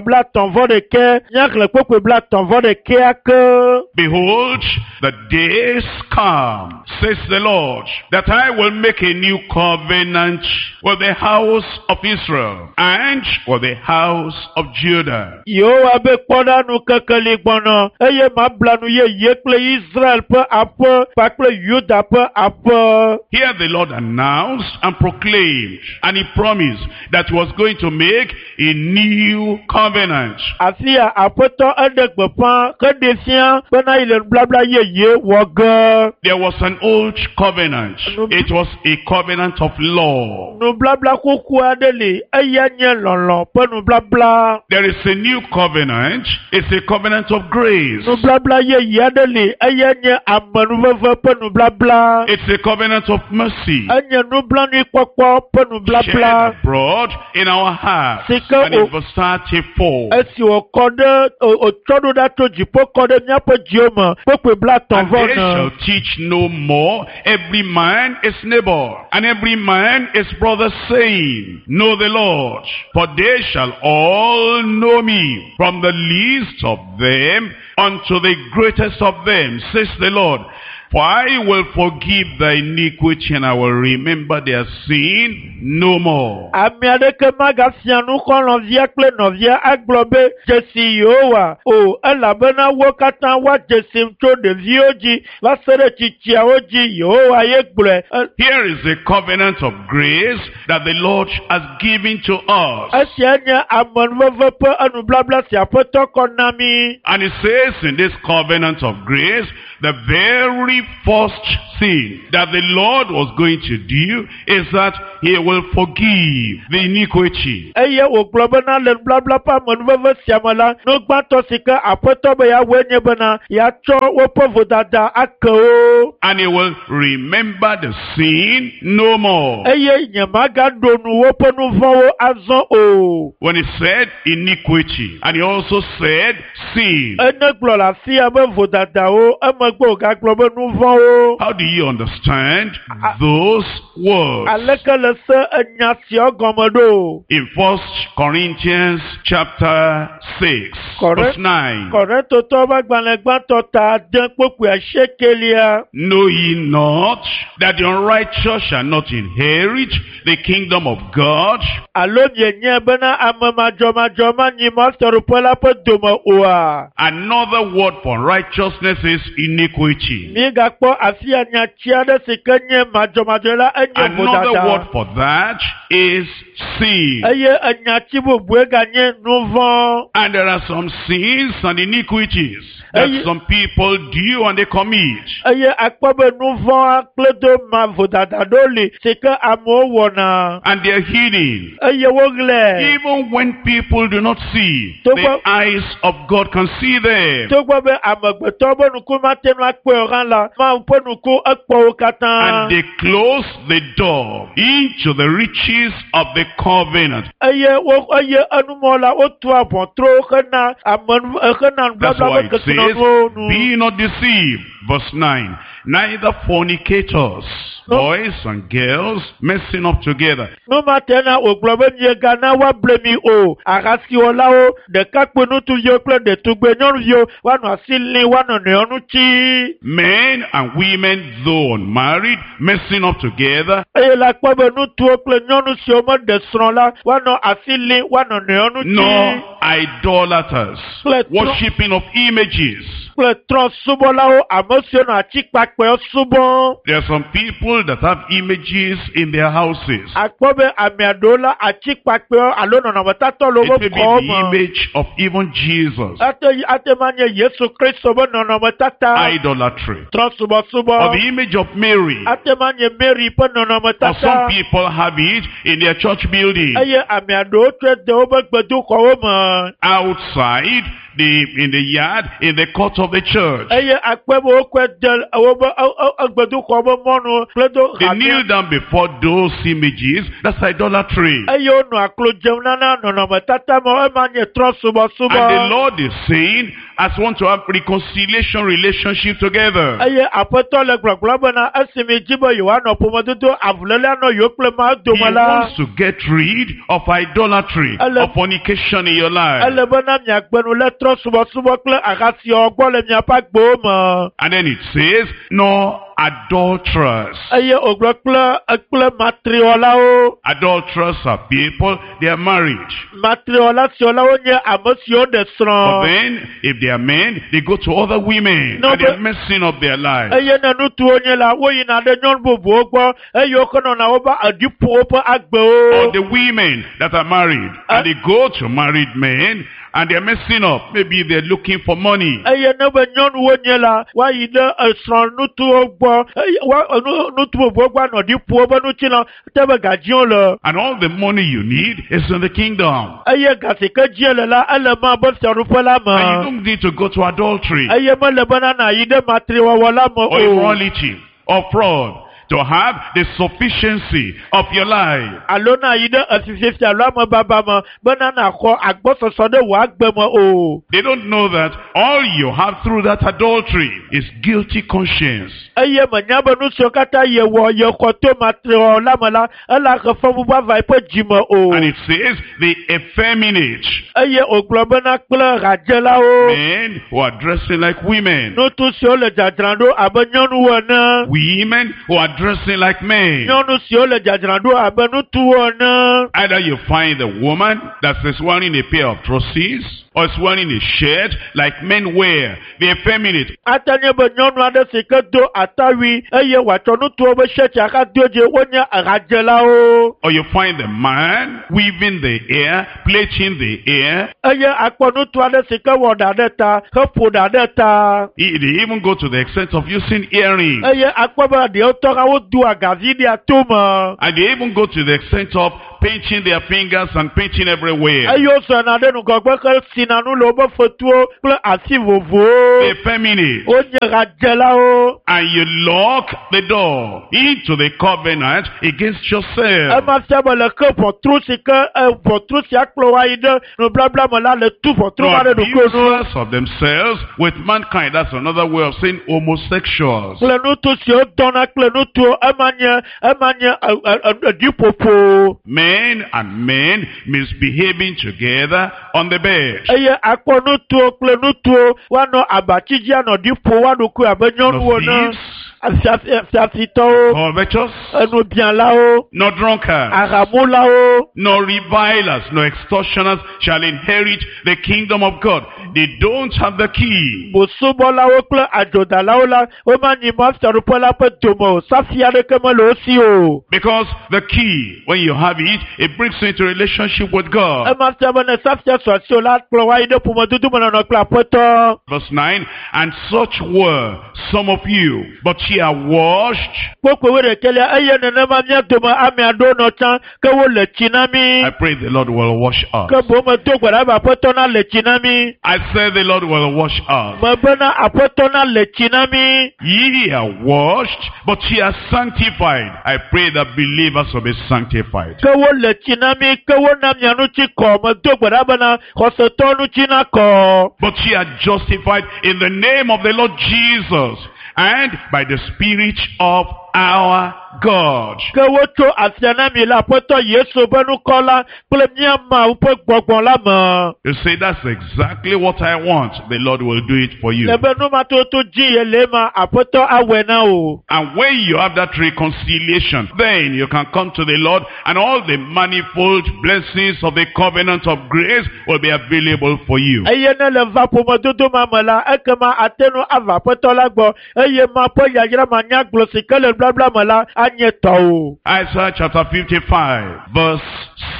31 míaxlẽ kpokpoe 31 ke. Behold, the days come, says the Lord, that I will make a new covenant with the house of Israel and with the house of Judah. Yehowa be kpɔ ɖa nu kekeli gbɔnɔ eye mabla nu yeye kple Israel ƒe aƒe kpakple Yuda ƒe aƒe. Here the Lord announced and proclaimed, and he promised that he was going to make a new covenant. Afi ya aƒetɔ eɖe gbeƒã heɖe fia bena yi le nublabla yeye wɔ ge. There was an old covenant. It was a covenant of law. Nublabla xoxo aɖe li eya nye lɔlɔ ƒe nublabla. There is a new covenant. It's a covenant of grace. Nublabla yeye aɖe li eya nye amenuveve ƒe nublabla. It's a covenant of mercy. Enye nublanuikpɔkpɔ ƒe Shed nublabla. abroad in our hearts. Sike And in o- verse 34. Esi wòkɔ ɖe wòtsɔ ɖo ɖa tso dziƒo kɔ ɖe míaƒe dziwo me kpokpoe blaetɔ̃ And vɔ they ne. shall teach no more every man his neighbor, and every man his brother, saying, Know the Lord, for they shall all know me, from the least of them unto the greatest of them, says the Lord. For I will forgive thy iniquity and I will remember their sin no more. Ame aɖeke magafia nu xɔlɔ̃via kple nɔvia agblɔ be dzesi Yehowa o elabena wo katã woadze sim tso ɖeviwo dzi va se ɖe tsitsiawo dzi Yehowa ye gblɔe. E- Here is the covenant of grace that the Lord has given to us. Esia nye amenuveve ƒe enublabla si Aƒetɔ kɔ na mí. And it says in this covenant of grace, the very first thing that the Lord was going to do is that he will forgive the iniquity. Eye wògblɔ bena le nublabla ƒe amenuveve sia me la, nu gbãtɔ si ke Aƒetɔ be yeawɔe nye bena yeatsɔ woƒe vodada ake wo. And he will remember the sin no more. Eye nyemagaɖo nu woƒe nu vɔ̃wo azɔ o. When he said iniquity, and he also said sin. Ene gblɔ le afi ya be vodadawo, emegbe wògagblɔ be nu vɔ̃wo. How do you understand those words? Aleke le se enya siawo gɔme ɖo? In First Corinthians chapter 6, Correct. verse 9. Kɔrintotɔwo ƒe agbalẽ gbãtɔ ta ade kpokpui asiekelia. Know ye not that the unrighteous shall not inherit the kingdom of God? Alo mienyae bena ame madzɔmadzɔ manyi mɔfiaɖuƒe la ƒe dome oa? Another word for righteousness is iniquity. Míegakpɔ afi ya nyati aɖe si ke nye madzɔmadzɔ la enye Another vodada. word for that is sin. Eye enyati bubue ganye nu vɔ̃. And there are some sins and iniquities that Eye- some people do and they commit. Eye akpɔ be nu vɔ̃a kple do ma vodada ɖewo li si ke amewo wɔna. And they are hidden. Eye woɣlae. Even when people do not see, To the go- eyes of God can see them. Togbɔ be amegbetɔ ƒe nuku mate ŋu akpɔe o hã la, Mawu ƒe nuku ekpɔ wo katã. And they close the door into the riches of the covenant. Eye wo eye enumɔ la wotua ʋɔtruwo hena ame hena That's nublabla why ƒe it says, kesinɔnuwo nu. be not deceived. Verse 9. Neither fornicators, No. boys and girls, messing up together. Nu ma te na wògblɔ be miegana woable mi o. Ahasiwɔlawo, ɖekakpui ŋutsuviwo kple ɖetugbe nyɔnuviwo woanɔ asi lim woanɔ nɔewo ŋuti. Men and women, though unmarried, messing up together. Eye la kpɔ be ŋutsuwo kple nyɔnu siwo meɖe srɔ̃ la woanɔ asi lim woanɔ nɔewo ŋuti. Nor idolaters, worshipping of images. Kple trɔ̃subɔlawo, ame siwo nɔ atikpakpɛwo subɔm. There are some people that have images in their houses. Akpɔ be ame aɖewo la atikpakpɛwo alo nɔnɔmetatɔ le It woƒe may be xɔwo the me. image of even Jesus. Ate ate ma nye Yesu Kristo ƒe nɔnɔmetata. Idolatry. Trɔ̃subɔsubɔ. Or the image of Mary. Ate ma nye Mary ƒe Or some nɔnɔmetata. people have it in their church building. Eye ame aɖewo tsɔe de woƒe gbedoxɔwo me. Outside, the, in the yard, in the court of the church. Eye akpɔ be wokɔe de woƒe gbedoxɔ ƒe mɔnu kple do They hamea. kneel down before those images. That's idolatry. Eye wonɔ aklo dzem nana nɔnɔmetata ma ema nye And the trɔ̃subɔsubɔ. Lord is saying, as want to have reconciliation relationship together. Eye aƒetɔ le gblɔgblɔm bena esi mi dzi be yewoanɔ ƒomedodo avuléle anɔ yewo kple Mawu He dome la, wants to get rid of idolatry, Ele- of fornication in your life. ele bena miagbe nu le trɔ̃subɔsubɔ kple ahasiwɔwɔ gbɔ le miaƒe agbewo me. And then it says, no adulterers. Eye wògblɔ kple kple matriwɔlawo. Adulterers are people, they are married. Matriwɔla siwɔlawo nye ame siwo ɖe But srɔ̃. then, if they are men, they go to other women. No, and they are but- messing up their lives. Eye ne ŋutsuwo nye la, woyina ɖe nyɔnu bubuwo gbɔ eye wokenɔna woƒe eɖiƒo woƒe agbewo. Or the women that are married, and they go to married men, and they're messing up. Maybe they're looking for money. Eye ne be nyɔnuwo nye la, woayi ɖe esrɔ̃ ŋutsuwo gbɔ eye woa nu ŋutsu bubuwo gbɔ anɔ ɖi ƒo woƒe ŋutilã te be gadziwo le. And all the money you need is in the kingdom. Eye ga si ke dzie le la, ele ma be fiaɖuƒe la And you me. don't need to go to adultery Eye mele bena nàyi ɖe matriwɔwɔ la me or o. immorality or fraud to have the sufficiency of your life. Alo na yi ɖe efififi alo amebaba me bena nàxɔ agbɔsɔsɔ ɖe wò agbe me o. They don't know that all you have through that adultery is guilty conscience. Eye menya be nu siwo katã yewɔ yexɔ to matrewɔwɔ la me la, ele ahe fɔbubu ava eƒe dzime o. And it says the effeminate, Eye wògblɔ bena kple hadzelawo, men who are dressing like women, ŋutsu siwo le dzadzram ɖo abe nyɔnuwo ene, women who are dressing like men. nyɔnu siwo le dzadzram ɖo abe ŋutsuwo ene. Either you find a woman that is wearing a pair of trousers or is wearing a shirt like men wear, the effeminate. Ate nye be nyɔnu aɖe si ke do atawui eye wòatsɔ ŋutsuwo be shɛti ahado dzi wonye hadzelawo. Or you find the man weaving the hair, plaiting the hair. Eye akpɔ ŋutsu aɖe si ke wɔ ɖa ɖe ta heƒo ɖa ɖe ta. They even go to the extent of using earrings. Eye akpɔ be ɖewo tɔ hã wodoa gavi ɖea tome. And they even go to the extent of painting their fingers and painting everywhere. Eye wozɔna ɖe ŋgɔgbe hesina nu le woƒe fetuwo kple asi vovovowo. The effeminate. Wonye hadzelawo. And you lock the door into the covenant against yourself. Ema fia be le ke ʋɔtru si ke ʋɔtru sia kplɔ wo ayi ɖe nublabla me la le tu ʋɔtru No va ɖe ɖokuiwo nu. abusers of themselves with mankind. That's another way of saying homosexuals. Kple ŋutsu siwo dɔna kple ŋutsuwo ema nye ema nye ɖiƒoƒo. Men and men misbehaving together on the bed. Eye akpɔ ŋutsuwo kple ŋutsuwo woanɔ abatsi dzi anɔ ɖi ƒo woa ɖokui abe nyɔnuwo No ene. thieves, Fiafitɔwo, covetous, enubialawo, no drunkards, ahamulawo, no revilers, no extortioners shall inherit the kingdom of God. They don't have the key. bosubɔlawo kple adzodalawo la womanyi Mawu fiaɖuƒe la ƒe dome o. Safi aɖeke mele wo si o. Because the key, when you have it, it brings you into relationship with God. Ema fia be ne safia su asiwò la kplɔ wo ayi ɖe ƒomedodomenɔnɔ kple aƒetɔ. Verse 9, and such were some of you, but ye are washed. Kpokpo wuiɖekɛlia eye nenema mía dome ame aɖewo nɔ tsã ke wole tsi na mí. I pray the Lord will wash us. Ke boŋ medo gbe ɖa be aƒetɔ na le tsi na mí. I say the Lord will wash us. Mebena aƒetɔ na le tsi na mí. Ye are washed, but ye are sanctified. I pray that believers will be sanctified. Ke wole tsi na mí, ke wona mia ŋuti kɔ. Medo gbe ɖa bena xɔsetɔwo ŋuti na kɔ. But ye are justified in the name of the Lord Jesus and by the Spirit of our God. Ke wotso afia na mi le aƒetɔ Yesu ƒe ŋkɔ la kple mía Mawu ƒe gbɔgbɔ la me. You say, that's exactly what I want. The Lord will do it for you. Le be numatoto dzi ye le ema, aƒetɔ awɔe na wò. And when you have that reconciliation, then you can come to the Lord and all the manifold blessings of the covenant of grace will be available for you. Eye ne le va ƒomedodo ma me la, ekema ate ŋu ava aƒetɔ la gbɔ eye ma ƒe yayra manyagblɔ si ke le nubabla me la anye tɔwò. Isaiah chapter 55, verse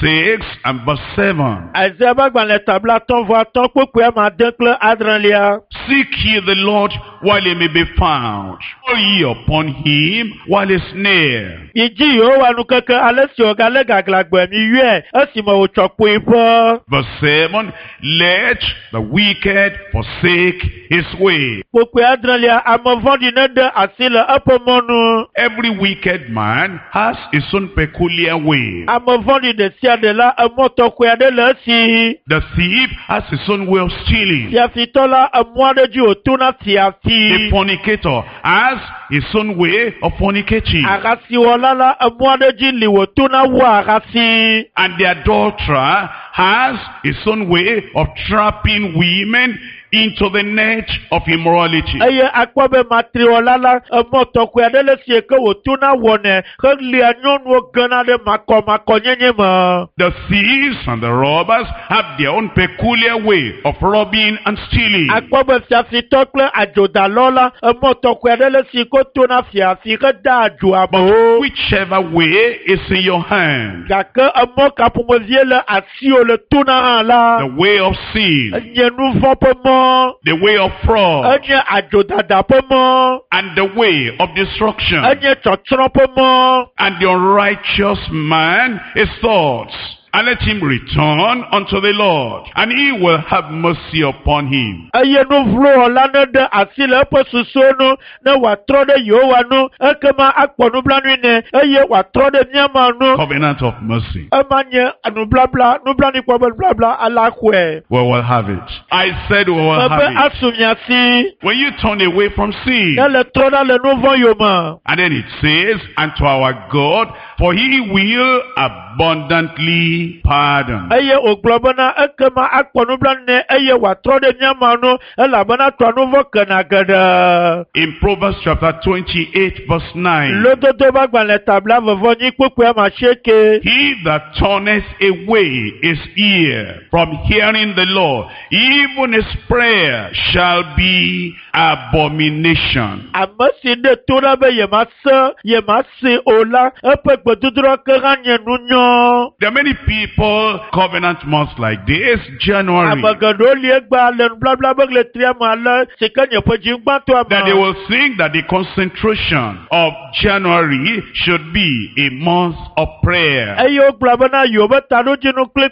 6 and verse 7. Isaiah ƒe agbalẽ ta 55 kpukpui ame ade kple adrelia. Seek ye the Lord while he may be found. Call ye upon him while he is near. Midzi Yehowa nukeke ale si wògalé gaglãgbe miyɔe esime wòtsɔ kpoe ƒe. Verse 7, let the wicked forsake his way. Kpukpui adrelia, ame vɔ̃ɖi neɖe asi le eƒe mɔnu. Every wicked man has his own peculiar way. Ame vɔ̃ɖi ɖe sia ɖe la, emɔ tɔxɛ aɖe le esi. The thief has his own way of stealing. Fiafitɔ la, emɔ aɖe dzi wòtona The fiafi. fornicator has his own way of fornicating. Ahasiwɔla la, emɔ aɖe dzi li wòtona wɔa ahasi. And the adulterer has his own way of trapping women into the net of immorality. Eye akpɔ be matriwɔla la, emɔ tɔxɛ aɖe le esi ke wòtona wɔnɛ helia nyɔnuwo gena ɖe makɔmakɔnyenye me. The thieves and the robbers have their own peculiar way of robbing and stealing. Akpɔ be fiafitɔ kple adzodalɔ la, emɔ tɔxɛ aɖe le esi ke wotona fiafi heda adzo amewo. Whichever way is in your hand, Gake emɔ ka ƒomevie le asiwò le tona hã la, the way of sin, enye nu vɔ̃ ƒe mɔ, the way of fraud, enye adzodada ƒe mɔ, and the way of destruction. enye tsɔtsrɔ̃ ƒe mɔ. And the unrighteous man, his thoughts And let him return unto the Lord, and he will have mercy upon him. Eye nu vlo wɔla ne ɖe asi le eƒe susuwo nu ne wòatrɔ ɖe Yehowa nu ekema akpɔ nublanui nɛ eye wòatrɔ ɖe míama nu. Covenant of mercy. Ema nye nublabla nublanuikpɔ be nublabla ala xɔe. We will have it. I said we will Mebe have it. asu mia si When you turn away from sin, ne le trɔ ɖa le nu vɔ̃ yome. and then it says, and to our God, for he will abundantly pardon. Eye wògblɔ bena ekema akpɔ nublanui nɛ eye wòatrɔ ɖe míama nu elabena tɔa nu vɔ̃ kena geɖe. In Proverbs chapter 28 verse 9, Lododo ƒe agbalẽ tabla vɔvɔ nyi kpukpui ame asieke. he that turneth away his ear from hearing the law, even his prayer shall be abomination. Ame si ɖe to ɖa be yemase yemase o la, eƒe gbedodoɖa ke hã nye nunyɔ. There are many people, covenant months like this, January, Ame geɖewo li egbea le nublabla be ɣletria me ale si ke nye ƒe dzigbãtɔa that they me. will think that the concentration of January should be a month of prayer. Eye wogblɔ bena yewo be taɖodzinu kple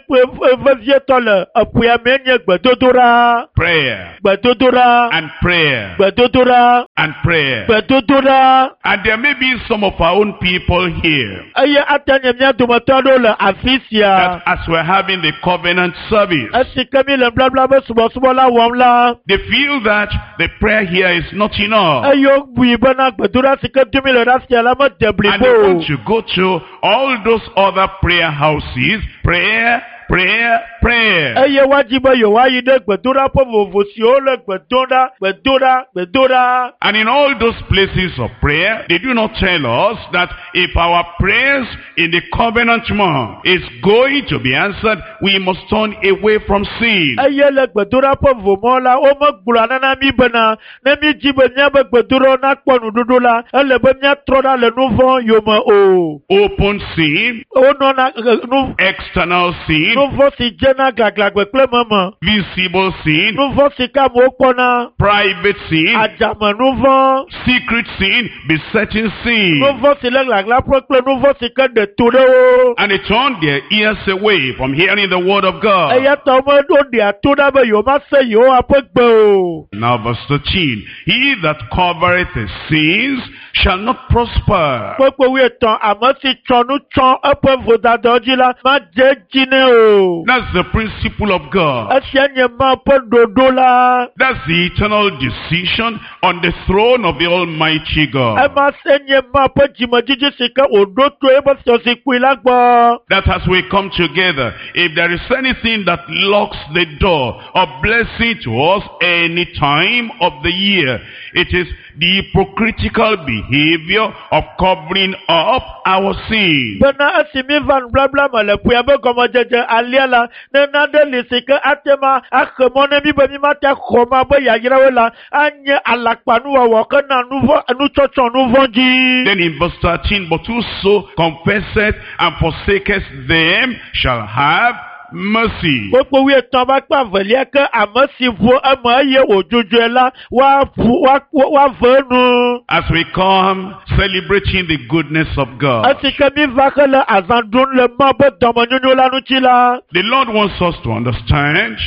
vevietɔ le eƒea mee nye gbedodoɖa, Prayer gbedodoɖa, and prayer gbedodoɖa, and prayer. gbedodoɖa. And there may be some of our own people here Eye ate nye mía dometɔ aɖewo le afi sia. that as we're having the covenant service, Esi ke mi le nublabla be subɔsubɔ la wɔm la, they feel that the prayer here is not enough. eye wobui bena gbedoɖa si ke dom mi le ɖe afia la mede And blibo they o. want to go to all those other prayer houses, prayer, prayer, prayer. Eye woadzi be yewoayi ɖe gbedoɖaƒe vovovo siwo le gbe dom ɖa, gbedoɖa, gbedoɖa. And in all those places of prayer, they do not tell us that if our prayers in the covenant month is going to be answered, we must turn away from sin. Eye le gbedoɖaƒe vomɔ la, womegblɔa nana mí bena ne mídzi be míabe gbedoɖawo nakpɔ nuɖuɖu la, ele be míatrɔ ɖa le nu vɔ̃ yome o. Open sin, Wonɔna eh, nu external sin, nu vɔ̃ si dzena gaglãgbe kple meme, visible sin, nu vɔ̃ si ke amewo kpɔna, private sin, adzame nu vɔ̃, secret sin, besetting sin. nu vɔ̃ si le gaglãƒe kple nu vɔ̃ si ke ɖe to ɖe wo. And they turn their ears away from hearing the word of God. Eya ta wome woɖea to ɖa be yewomase Yehowa ƒe gbe o. Now verse 13. He that covereth his sins shall not prosper. Kpekpe wuietɔ̃, ame si tsɔ nu tsɔ eƒe vodadawo dzi la, madze edzi nɛ o. That's the principle of God. Esia nye Mawu ƒe ɖoɖo la. That's the eternal decision on the throne of the Almighty God. Ema se nye Mawu ƒe dzimedzidzi si ke wòɖo to eƒe fiazikpui la gbɔ. That as we come together, if there is anything that locks the door of blessing to us any time of the year, it is the hypocritical behavior of covering up our sin. Bena esi mi va nublabla me le ƒea be gɔmedzedze alia la, ne nane li si ke ate ma axe mɔ ne mi be mi mate xɔ ma be yayrawo la, anye alakpanuwɔwɔ hena nu vɔ̃ nutsɔtsɔ nu vɔ̃ dzi. Then in verse 13, but whoso confesseth and forsaketh them shall have mercy. Kpokpo wuietɔ̃ va kpe avelia ke ame si ʋu eme eye wòdzudzɔe la, woaʋu woa woave enu. As we come celebrating the goodness of God, Esi ke mi va hele azã ɖum le Mawu ƒe dɔmenyonyo la ŋuti la, the Lord wants us to understand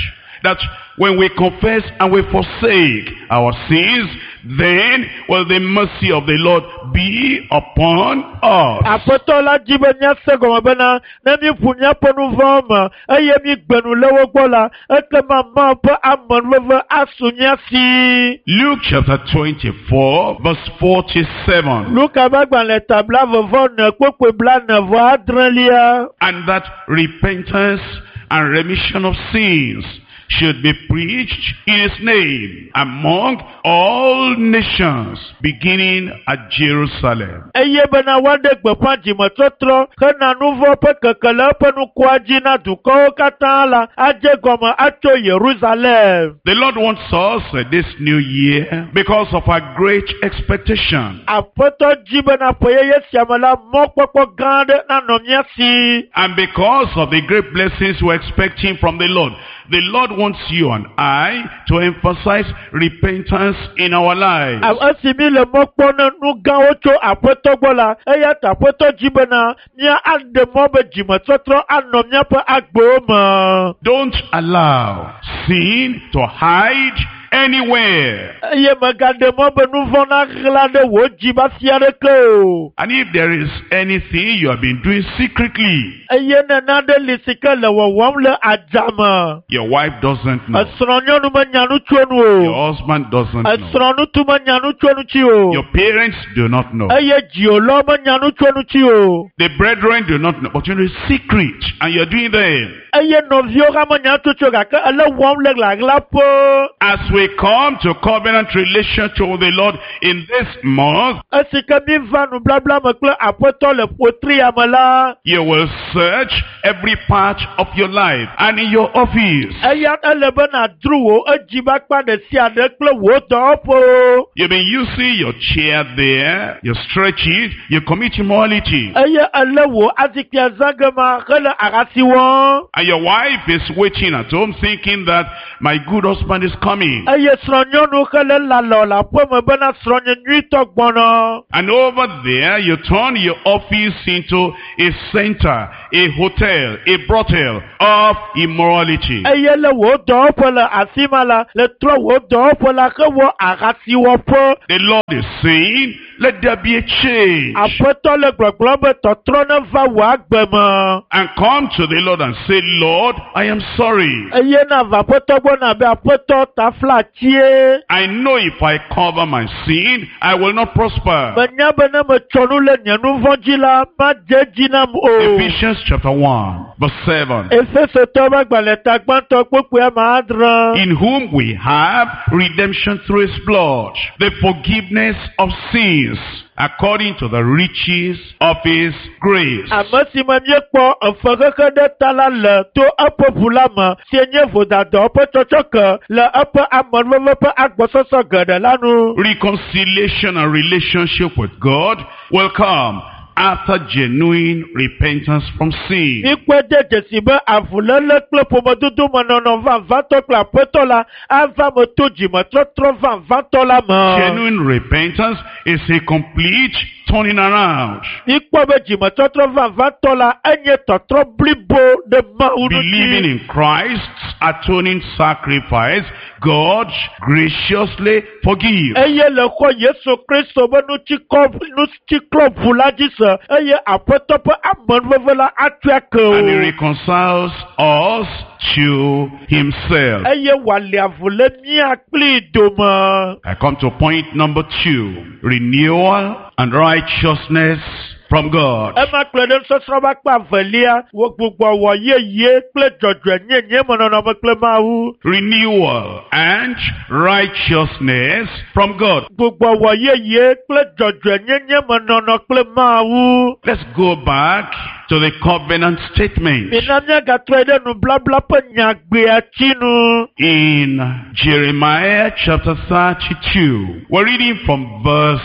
that when we confess and we forsake our sins, then will the mercy of the Lord be upon us. Aƒetɔ la dzi be míase gɔme bena ne míʋu míaƒe nu vɔ̃wo me eye mígbe nu le wo gbɔ la, ekema Mawu ƒe amenuveve asu mía si. Luke chapter 24 verse 47. Luka ƒe agbalẽ ta blaeve vɔ ene kpukpui blaene vɔ adrelia. And that repentance and remission of sins should be preached in his name among all nations, beginning at Jerusalem. Eye bena woaɖe gbeƒã dzimetɔtrɔ hena nu vɔ̃ ƒe keke le eƒe nukua dzi na dukɔwo katã la adze gɔme atso Yerusalem. The Lord wants us this new year because of our great expectation. Aƒetɔ dzi bena ƒe yeye sia me la mɔkpɔkpɔ gã aɖe nanɔ mía si. And because of the great blessings we're expecting from the Lord, the Lord wants you and I to emphasize repentance in our lives. Esi mi le mɔ kpɔm ne nu gãwo tso aƒetɔ gbɔ la, eya ta aƒetɔ dzi bena mía aɖe mɔ be dzimetɔtrɔ anɔ míaƒe agbewo me. Don't allow sin to hide anywhere. Eye mègaɖe mɔ be nu vɔ̃ naɣla ɖe wò dzi be afi aɖeke o. And if there is anything you have been doing secretly, Eye ne nane li si ke le wɔwɔm le adzame, your wife doesn't know, esrɔ̃nyɔnu menya nu tso nu o. your husband doesn't know, Esrɔ̃ŋutsu menya nu tso ŋuti o. your parents do not know, Eye dziwòlawo menya nu tso ŋuti o. the brethren do not know, but you know it's secret and you're doing them. Eye nɔviwo hã menya nu tso gake ele wɔm le ɣlaɣlaƒe. As we come to covenant relationship with the Lord in this month, Esi ke mi va nublabla me kple aƒetɔ le ƒotria me la, you will search every part of your life and in your office. eya ele be nàdro wò edzi be akpa ɖe sia ɖe kple wò dɔwɔƒewo. You've been using your chair there, you stretch it, you commit immorality. Eye ele wò azikpuia zã ge ma hele ahasi wɔm. And your wife is waiting at home thinking that my good husband is coming. Eye srɔ̃nyɔnu hele lalɔ le aƒeme bena srɔ̃nye nyuitɔ gbɔnɔ. And over there, you turn your office into a center, a hotel, a brothel of immorality. Eye le wò dɔwɔƒe le afi ma la, le trɔ wò dɔwɔƒe la hewɔ ahasiwɔƒe. The Lord is saying, let there be a change. Aƒetɔ le gbɔgblɔm be tɔtrɔ ne va wò agbe me. And come to the Lord and say, Lord, I am sorry. Eye na va aƒetɔ gbɔ na be aƒetɔ tafla tsie. I know if I cover my sin, I will not prosper. Menya be ne metsɔ nu le nye nu vɔ̃ dzi la, madze edzi nam o. Ephesians chapter 1, verse 7. Efesotɔwo ƒe agbalẽ ta gbãtɔ kpukpui ame adre. In whom we have redemption through his blood, the forgiveness of sins, according to the riches of his grace. Ame si me míekpɔ efexexe ɖe ta la le to eƒe ʋu la me si nye vodadawo ƒe tsɔtsɔke le eƒe amenuveve ƒe agbɔsɔsɔ geɖe la nu. Reconciliation and relationship with God will come after genuine repentance from sin. Míkpɔe de dzesi be avuléle kple ƒomedodo me nɔnɔ vavãtɔ kple aƒetɔ la ava me to dzimetɔtrɔ vavãtɔ la me. Genuine repentance is a complete turning around. Míkpɔ be dzimetɔtrɔ vavãtɔ la enye tɔtrɔ blibo ɖe Mawu Believing ŋuti. in Christ's atoning sacrifice, God graciously forgives. Eye le xɔ Yesu Kristo be nutsiklɔ ʋu la dzi se eye aƒetɔ ƒe amenuveve la atsɔe ake And he o. reconciles us to himself. Eye wòali avu le mía kplii dome. I come to point number 2. Renewal and righteousness from God. Ema kplɔe ɖe nusɔsrɔ̃ ƒe akpa evelia, wò gbugbɔwɔ yeye kple dzɔdzɔenyenye me nɔnɔme kple Mawu. Renewal and righteousness from God. Gbugbɔwɔ yeye kple dzɔdzɔenyenye me nɔnɔ kple Mawu. Let's go back to the covenant statement Mina míagatrɔe ɖe nublabla ƒe nyagbea tsi nu. in Jeremiah chapter 32. We're reading from verse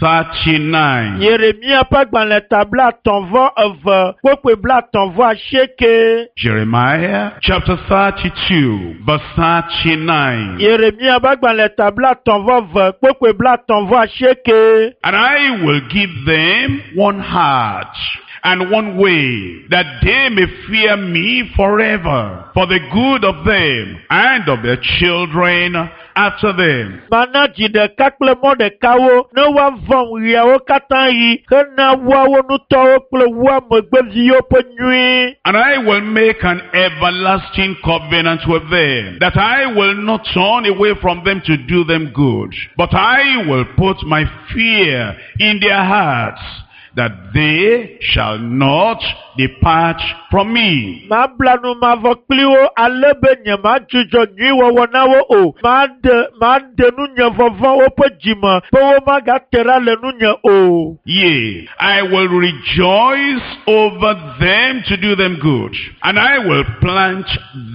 39. Yeremia ƒe agbalẽ ta 32 kpokpoe 38. Jeremiah chapter 32, verse 39. Yeremia ƒe agbalẽ ta 32 kpokpoe 38. And I will give them one heart and one way, that they may fear me forever, for the good of them and of their children after them. Mana dzi ɖeka kple mɔ ɖekawo ne woavɔ̃m ɣeawo katã ɣi hena woawo ŋutɔwo kple woa megbeviwo ƒe nyui. And I will make an everlasting covenant with them, that I will not turn away from them to do them good, but I will put my fear in their hearts, that they shall not depart from me. Mabla nu mavɔ kpli wo ale be nyemadzudzɔ nyuiwɔwɔ na wo o. Maɖe maɖe nunye vɔvɔ̃ woƒe dzime be womagate ɖa le nunye o. Yea, I will rejoice over them to do them good, and I will plant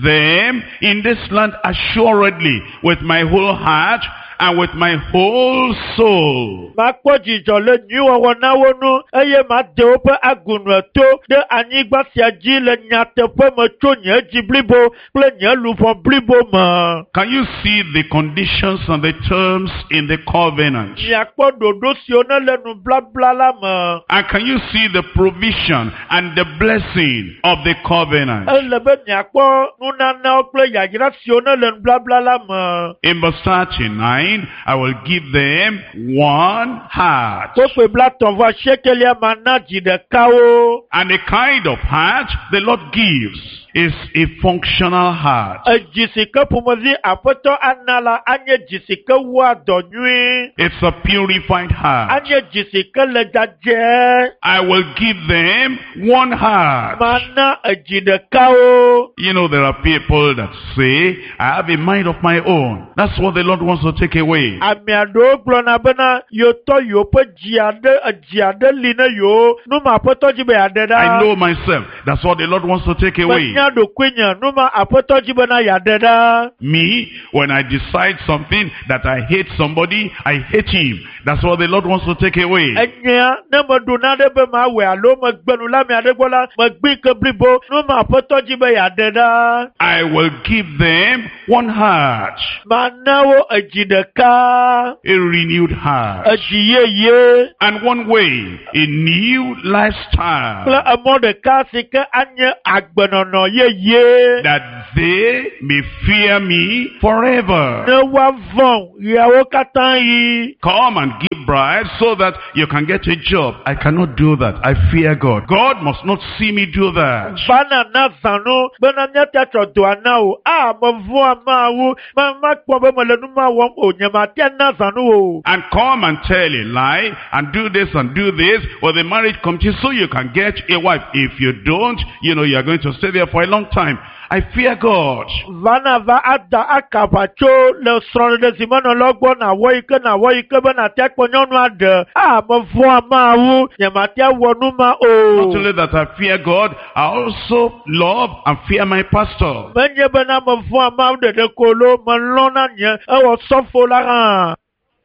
them in this land assuredly with my whole heart and with my whole soul. Makpɔ dzidzɔ le nyuiwɔwɔ na wo nu eye made woƒe agunu to ɖe anyigba sia dzi le nyateƒe me tso nye dzi blibo kple nye luʋɔ blibo me. Can you see the conditions and the terms in the covenant? Miakpɔ ɖoɖo siwo ne le nublabla la me. And can you see the provision and the blessing of the covenant? Ele be miakpɔ nunanawo kple yayra siwo ne le nublabla la me. In verse 39, I will give them one heart. Kpokpoe 38 mana dzi ɖeka wo. And the kind of heart the Lord gives is a functional heart. Edzi si ke ƒomevi aƒetɔ ana la anye dzi si ke wɔa dɔ nyuie. It's a purified heart. Anye dzi si ke le dzadzɛ. I will give them one heart. Mana edzi ɖeka wo. You know, there are people that say, I have a mind of my own. That's what the Lord wants to take away. Ame aɖewo gblɔna bena yewotɔ yewoƒe dzi aɖe edzi aɖe li ne yewo. Nu ma aƒetɔ dzi be yeaɖe I ɖa. know myself. That's what the Lord wants to take away. Menya ɖokuinye. Nu ma aƒetɔ dzi bena yeaɖe ɖa. Me, when I decide something that I hate somebody, I hate him. That's what the Lord wants to take away. Enyea ne meɖo naɖe be mawɔe alo megbe nu le ame aɖe gbɔ la, megbi ke blibo. Nu ma aƒetɔ dzi be yeaɖe ɖa. I will give them one heart, Mana wo edzi ɖeka. a renewed heart, Edzi yeye and one way, a new kple lifestyle, emɔ ɖeka si ke anye agbenɔnɔ yeye. that they may fear me forever. Ne woavɔ̃ ɣeawo katã yi. Come and give bribes so that you can get a job. I cannot do that. I fear God. God must not see me do that. Vana na zãnu bena míate atsɔ dɔa na o. A mevɔ̃a Mawu. Ma makpɔ be mele nu ma wɔm o. Nye mate na zãnu o. And come and tell a lie and do this and do this with the marriage committee so you can get a wife. If you don't, you know, you are going to stay there for a long time. I fear God. Vana va ada akaʋatso le srɔ̃ɖeɖe zimenɔlawo gbɔ nàwɔ yi ke nàwɔ yi ke be nàte akpɔ nyɔnu aɖe. A mevɔ̃a Mawu. Nye mate awɔ nu ma o. Not only that I fear God, I also love and fear my pastor. Menye bena mevɔ̃a Mawu ɖeɖe ko lo, melɔ̃na nye ewɔ sɔfo la hã.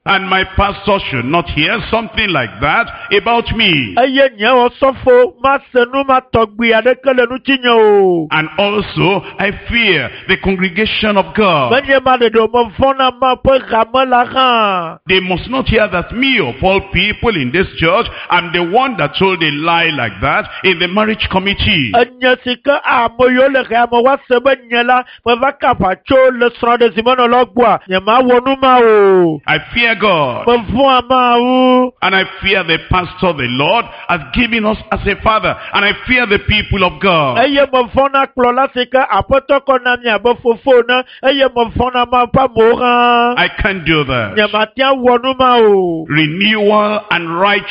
And my pastor should not hear something like that about me. Eye nye wɔ sɔfo mase nu ma tɔgbi aɖeke le ŋutinye o. And also, I fear the congregation of God. Menye ma ɖeɖe o, mevɔ̃na Mawu ƒe hame la hã. They must not hear that me of all people in this church, I'm the one that told a lie like that in the marriage committee. Enye si ke ame yiwo le xea me woase be nye la meva ka aʋatso le srɔ̃ɖezimenɔlawo gbɔa, nyemawɔ nu ma o. I fear God. Mevɔ̃a Mawu. And I fear the pastor the Lord has given us as a father. And I fear the people of God. Eye mevɔ̃na kplɔla si ke aƒetɔ kɔ na mi abe fofo ene. Eye mevɔ̃na Mawu ƒe amewo hã. I can't do that. Nyemate awɔ nu ma o. Renewal and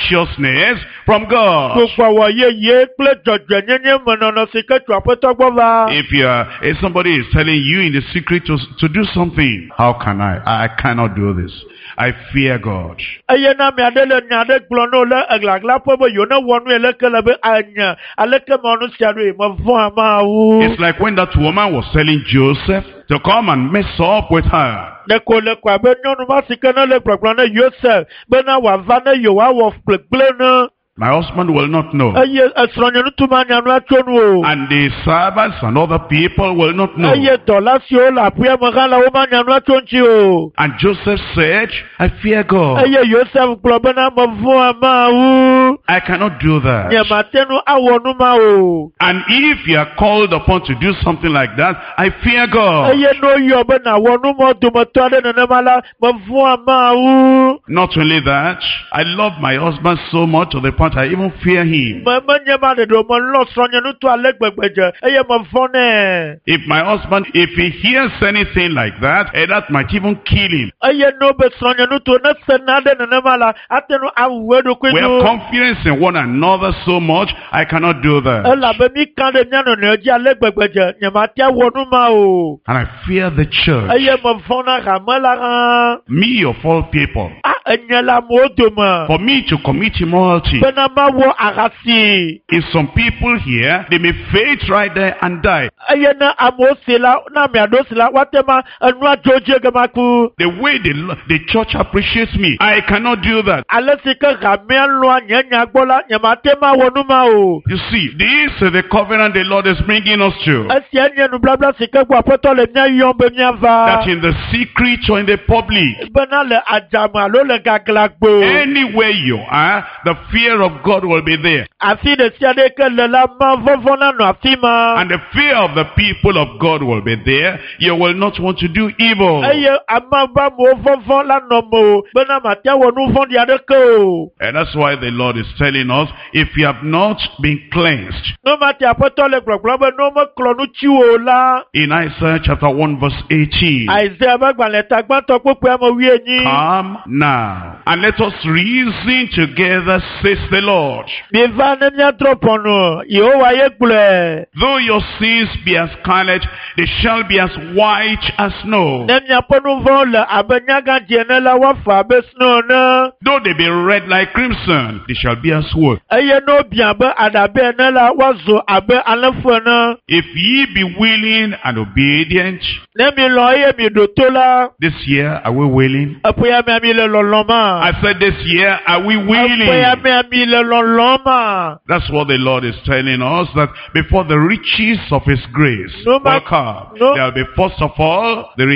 righteousness from God. Gbugbɔwɔ yeye kple dzɔdzɔenyenye menɔnɔ si ke tso aƒetɔ gbɔ va. If you are, if somebody is telling you in the secret to do something, how can I? I cannot do this. I fear God. Eye na ame aɖe le nya aɖe gblɔm na wo le eglaglaƒe be yewo ne wɔ nu yi leke le be anye aleke mewɔ nu sia ɖoe mevɔ̃a Mawu. It's like when that woman was telling Joseph to come and mess up with her. Ɖeko le ko abe nyɔnu ma si ke ne le gblɔgblɔm ne Yosef bena wòava ne yewoawɔ gblegble ne My husband will not know. eye esrɔ̃nye ŋutsu manya nua tso nu o. And the servants and other people will not know. Eye dɔla siwo le aƒea me hã la womanya nua tso ŋuti o. And Joseph said, I fear God. Eye Yosef gblɔ bena mevɔ̃a Mawu. I cannot do that. Nyemate ŋu awɔ nu ma o. And if you are called upon to do something like that, I fear God. Eye ne woyɔ be nàwɔ nu ma dometɔ aɖe nenema la, mevɔ̃a Mawu. Not only that, I love my husband so much to the point I even fear him. Me menye ma ɖeɖe o, melɔ̃ srɔ̃nye ŋutɔ ale gbegbe dze eye mevɔ̃ nɛ. If my husband, if he hears anything like that, that might even kill him. Eye ne wobe srɔ̃nye ŋutɔ ne se naɖe nenema la, ate ŋu awu eɖokui We have nu. confidence confidence in one another so much, I cannot do that. Elabe mi kan ɖe mía nɔnɔewo dzi ale gbegbe dze nyemate awɔ nu ma o. And I fear the church. Eye mevɔ̃ na hame la hã. Me of all people. A enye le amewo dome. For me to commit immorality. Bena mawɔ ahasi. If some people here, they may faint right there and die. Eye ne amewo si la, ne ame aɖewo si la, woate ma enua dzo dzi ege maku. The way the church appreciates me, I cannot do that. Ale si ke hamea lɔ̃a nye nya gbɔ la, nyemate ma wɔ nu ma o. You see, this is the covenant the Lord is bringing us to. Esia nye nubabla si ke gbɔ Aƒetɔ le mía yɔm be míava. That in the secret or in the public, Bena le adzame alo le gaglãgbe. anywhere you are, the fear of God will be there. Afi ɖe sia ɖe ke le la, mavɔvɔ̃ nanɔ afi ma. And the fear of the people of God will be there. You will not want to do evil. Eye ame be amewo vɔvɔ̃ la nɔ me o bena mate awɔ nu vɔ̃ɖi aɖeke o. And that's why the Lord is telling us, if you have not been cleansed, Ne mate Aƒetɔ le gblɔgblɔm be ne womeklɔ nu tsi wo o la, in Isaiah chapter 1 verse 18, Isaiah ƒe agbalẽ ta gbãtɔ kpukpui ame wuienyi. come now and let us reason together, says the Lord. Miva ne míadrɔ̃ ʋɔnu, Yehowa ye gblɔe. Though your sins be as scarlet, they shall be as white as snow. Ne miaƒe nu vɔ̃wo le abe nyagãdzi ene la, woafa abe snow ene. Though they be red like crimson, they shall be as wool. Eye ne wobiã abe aɖabe ene la, woazu abe alẽfu ene. If ye be willing and obedient, Ne milɔ̃ eye miɖo to la, this year are we willing? eƒe ya mea mi le lɔlɔ̃ ma. I said this year are we Eƒe ya willing? mea mi le lɔlɔ̃ ma. That's what the Lord is telling us, that before the riches of His grace No, will come, no. there will be first of all the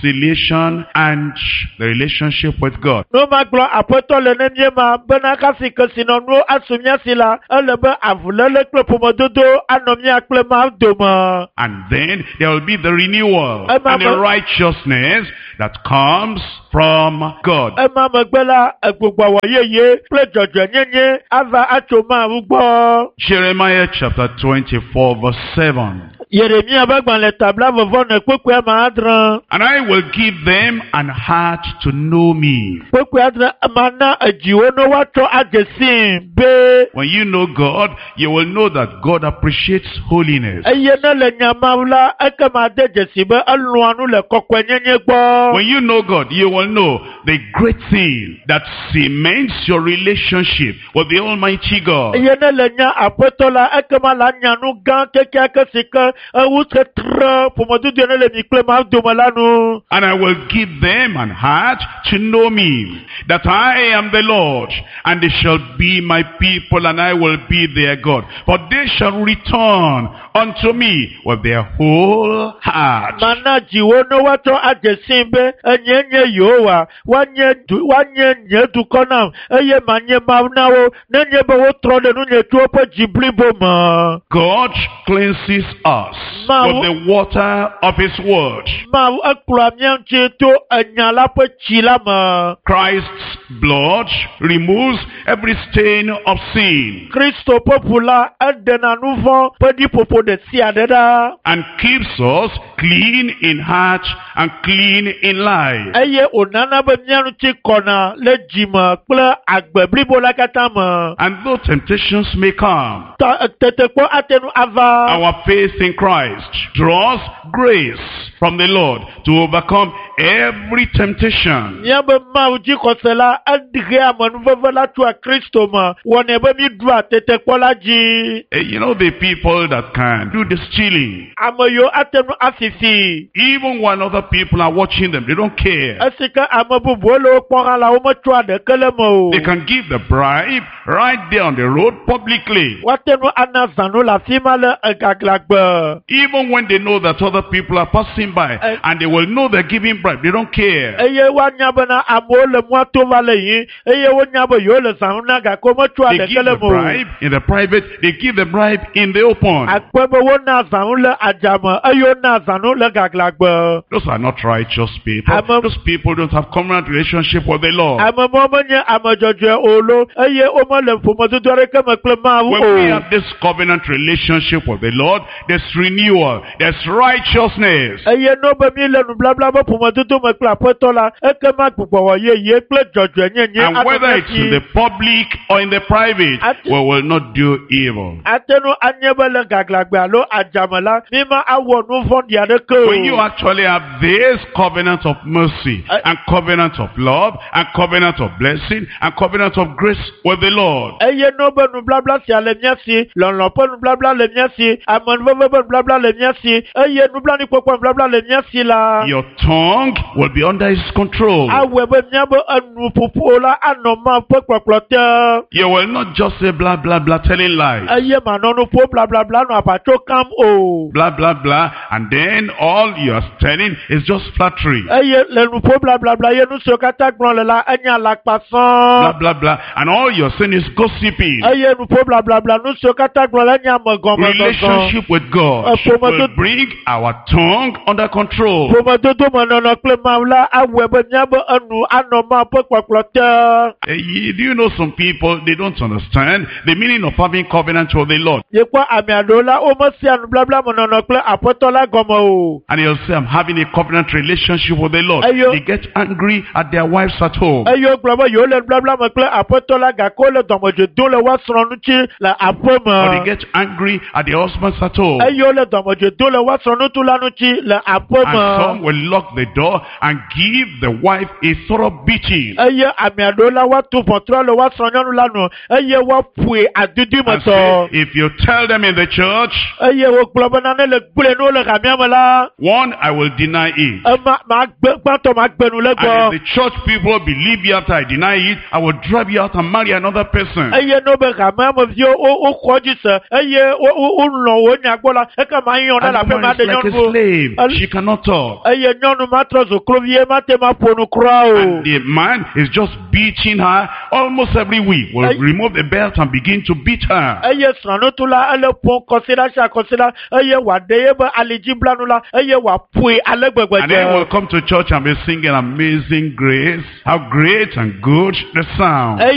reconciliation and the relationship with God. Ne womagblɔ Aƒetɔ le ne míema bena hafi kesinɔnuwo asu mía si la, ele be avuléle kple ƒomedodo anɔ mía kple Mawu dome. And then there will be the renewal Emma, and the righteousness that comes from God. Ema megbe la, egbugbɔwɔ yeye kple dzɔdzɔenyenye ava atso Mawu gbɔ. Jeremiah chapter 24 verse 7. Yeremia ƒe agbalẽ ta blaeve-vɔ-ene kpukpui ame adre. And I will give them an heart to know me. Kpukpui adre mana edziwo ne woatsɔ adze sii be When you know God, you will know that God appreciates holiness. eye ne le nya Mawu la, ekema de dzesi be elɔ̃a nu le kɔkɔenyenye gbɔ. When you know God, you will know the great thing that cements your relationship with the Almighty God. Eye ne le nya Aƒetɔ la, ekema la nya nu gã kekeake si ke ewu tetre ƒomedodo ne le mi kple Mawu dome la nu. And I will give them an heart to know me, that I am the Lord, and they shall be my people, and I will be their God. For they shall return unto me with their whole heart. Mana dziwo ne woatsɔ adze sii be enye nye Yehowa, woanye du woanye nye dukɔ nam eye manye Mawu na wo nenye be wotrɔ ɖe nunye tso woƒe dzi blibo me. God cleanses us with the water of his word. Mawu ekplɔa mía ŋuti to enya la ƒe tsi la me. Christ's blood removes every stain of sin Kristo ƒe ʋu la eɖena nu vɔ̃ ƒe ɖiƒoƒo ɖe sia ɖe ɖa. and keeps us clean in heart and clean in life. Eye wònana be mía ŋuti kɔna le dzime kple agbe blibo la katã me. And though temptations may come, Ta tetekpɔ ate ŋu ava. our faith in Christ draws grace from the Lord to overcome every temptation. Míabe Mawu dzixɔse la eɖea amenuveve la tsoa Kristo me wɔnɛ be míɖua tetekpɔ la dzi. You know, the people that can do the stealing, Ame yiwo ate ŋu afifi. even when other people are watching them, they don't care. Esi ke ame bubuwo le wo kpɔm hã la, wometsɔa ɖeke le eme o. They can give the bribe right there on the road publicly. Woate ŋu ana zãnu le afi ma le egaglãgbe. Even when they know that other people are passing by and they will know they're giving bribe, they don't care. Eye woanya bena amewo le mɔa to va le yiyim eye wonya be yewo le zãnu na gake wometsɔa They ɖeke give le the eme o. bribe in the private, they give the bribe in the open. Akpe be wona zãnu le adzame eye wona zãnu le gaglãgbe. Those are not righteous people. Those people don't have covenant relationship with the Lord. Ame mawo menye ame dzɔdzɔe o lo eye womele ƒomedodo aɖeke me kple Mawu When we o. have this covenant relationship with the Lord, there's renewal, there's righteousness. Eye Eye no be mi le nublabla be ƒomedodo me kple aƒetɔ la, ekema gbugbɔwɔ yeye kple dzɔdzɔenyenye And anɔ whether mía it's in si. the public or in the private, we will not do evil. Ate ŋu anye be le gaglãgbe alo adzame la, mi ma awɔ nu vɔ̃ɖi aɖeke When you o. actually have this covenant of mercy and covenant of love and covenant of blessing and covenant of grace with the Lord, Eye no be nublabla sia le mía si, lɔlɔ̃ ƒe nublabla le mía si, amenuveve ƒe nublabla le mía si, eye nublanuikpɔkpɔ nublabla le mía si la, your tongue will be under his control. awɔe be míabe enuƒoƒo la anɔ Mawu ƒe kpɔkplɔ te. You will not just say blah, blah, blah, telling lies. Eye manɔ nu ƒom blablabla nɔ aʋatso kam o. Blah, blah, blah. And then all you are telling is just flattery. Eye le nu ƒom blablabla ye nu siwo katã gblɔm le la enye alakpa Blah, sɔŋ. blah, blah. And all you're saying is gossiping. Eye nu ƒom blablabla nu siwo katã gblɔm le enye amegɔmegɔgɔ. Relationship with God will bring our tongue under control. Ƒomedodo me nɔnɔ kple Mawu la awɔe be míabe enu anɔ Mawu ƒe kpɔkplɔ te. Do you know some people, they don't understand the meaning of having covenant with the Lord. Miekpɔ ame aɖewo la womesea nublabla me nɔnɔ kple aƒetɔ la gɔme o. And they'll say, I'm having a covenant relationship with the Lord. Ayo. They get angry at their wives at home. Eye wogblɔ be yewo le nublabla me kple aƒetɔ la gake wole dɔmedzoe dom le woa srɔ̃ ŋuti le aƒe Or they me. get angry at their husbands at home. Eye wole dɔmedzoe dom le woa srɔ̃ ŋutu la ŋuti le aƒe And some me. will lock the door and give the wife a thorough beating. Eye ame aɖewo la woatu ʋɔtrua le woa srɔ̃ nyɔnu la nu eye woaƒoe adudui me And say, tɔ. if you tell them in the church, Eye wogblɔ be nane le gblẽ ne wole hamea me la, one, I will deny it. ema magbe gbãtɔ magbe nu le And gbɔ. if the church people believe you after I deny it, I will drive you out and marry another person. Eye ne wobe hamea me viwo wo woxɔ dzi se eye wo wo wolɔ̃ wo nya gbɔ la, ekema yɔ ne And le the aƒe ma woman ɖe is like a nyɔnu. slave. She cannot talk. Eye nyɔnu ma trɔ zu kluvi ye mate ma ƒo nu kura o. And the man is just beating her almost every week. Will Ay- remove the belt and begin to beat her. Eye srɔ̃nutu la ele ƒom kɔsiɖa sia kɔsiɖa eye wòaɖe eƒe alidziblanu la eye wòaƒoe ale gbegbe And then dze. we'll come to church and be singing Amazing Grace. How great and good the sound. Eye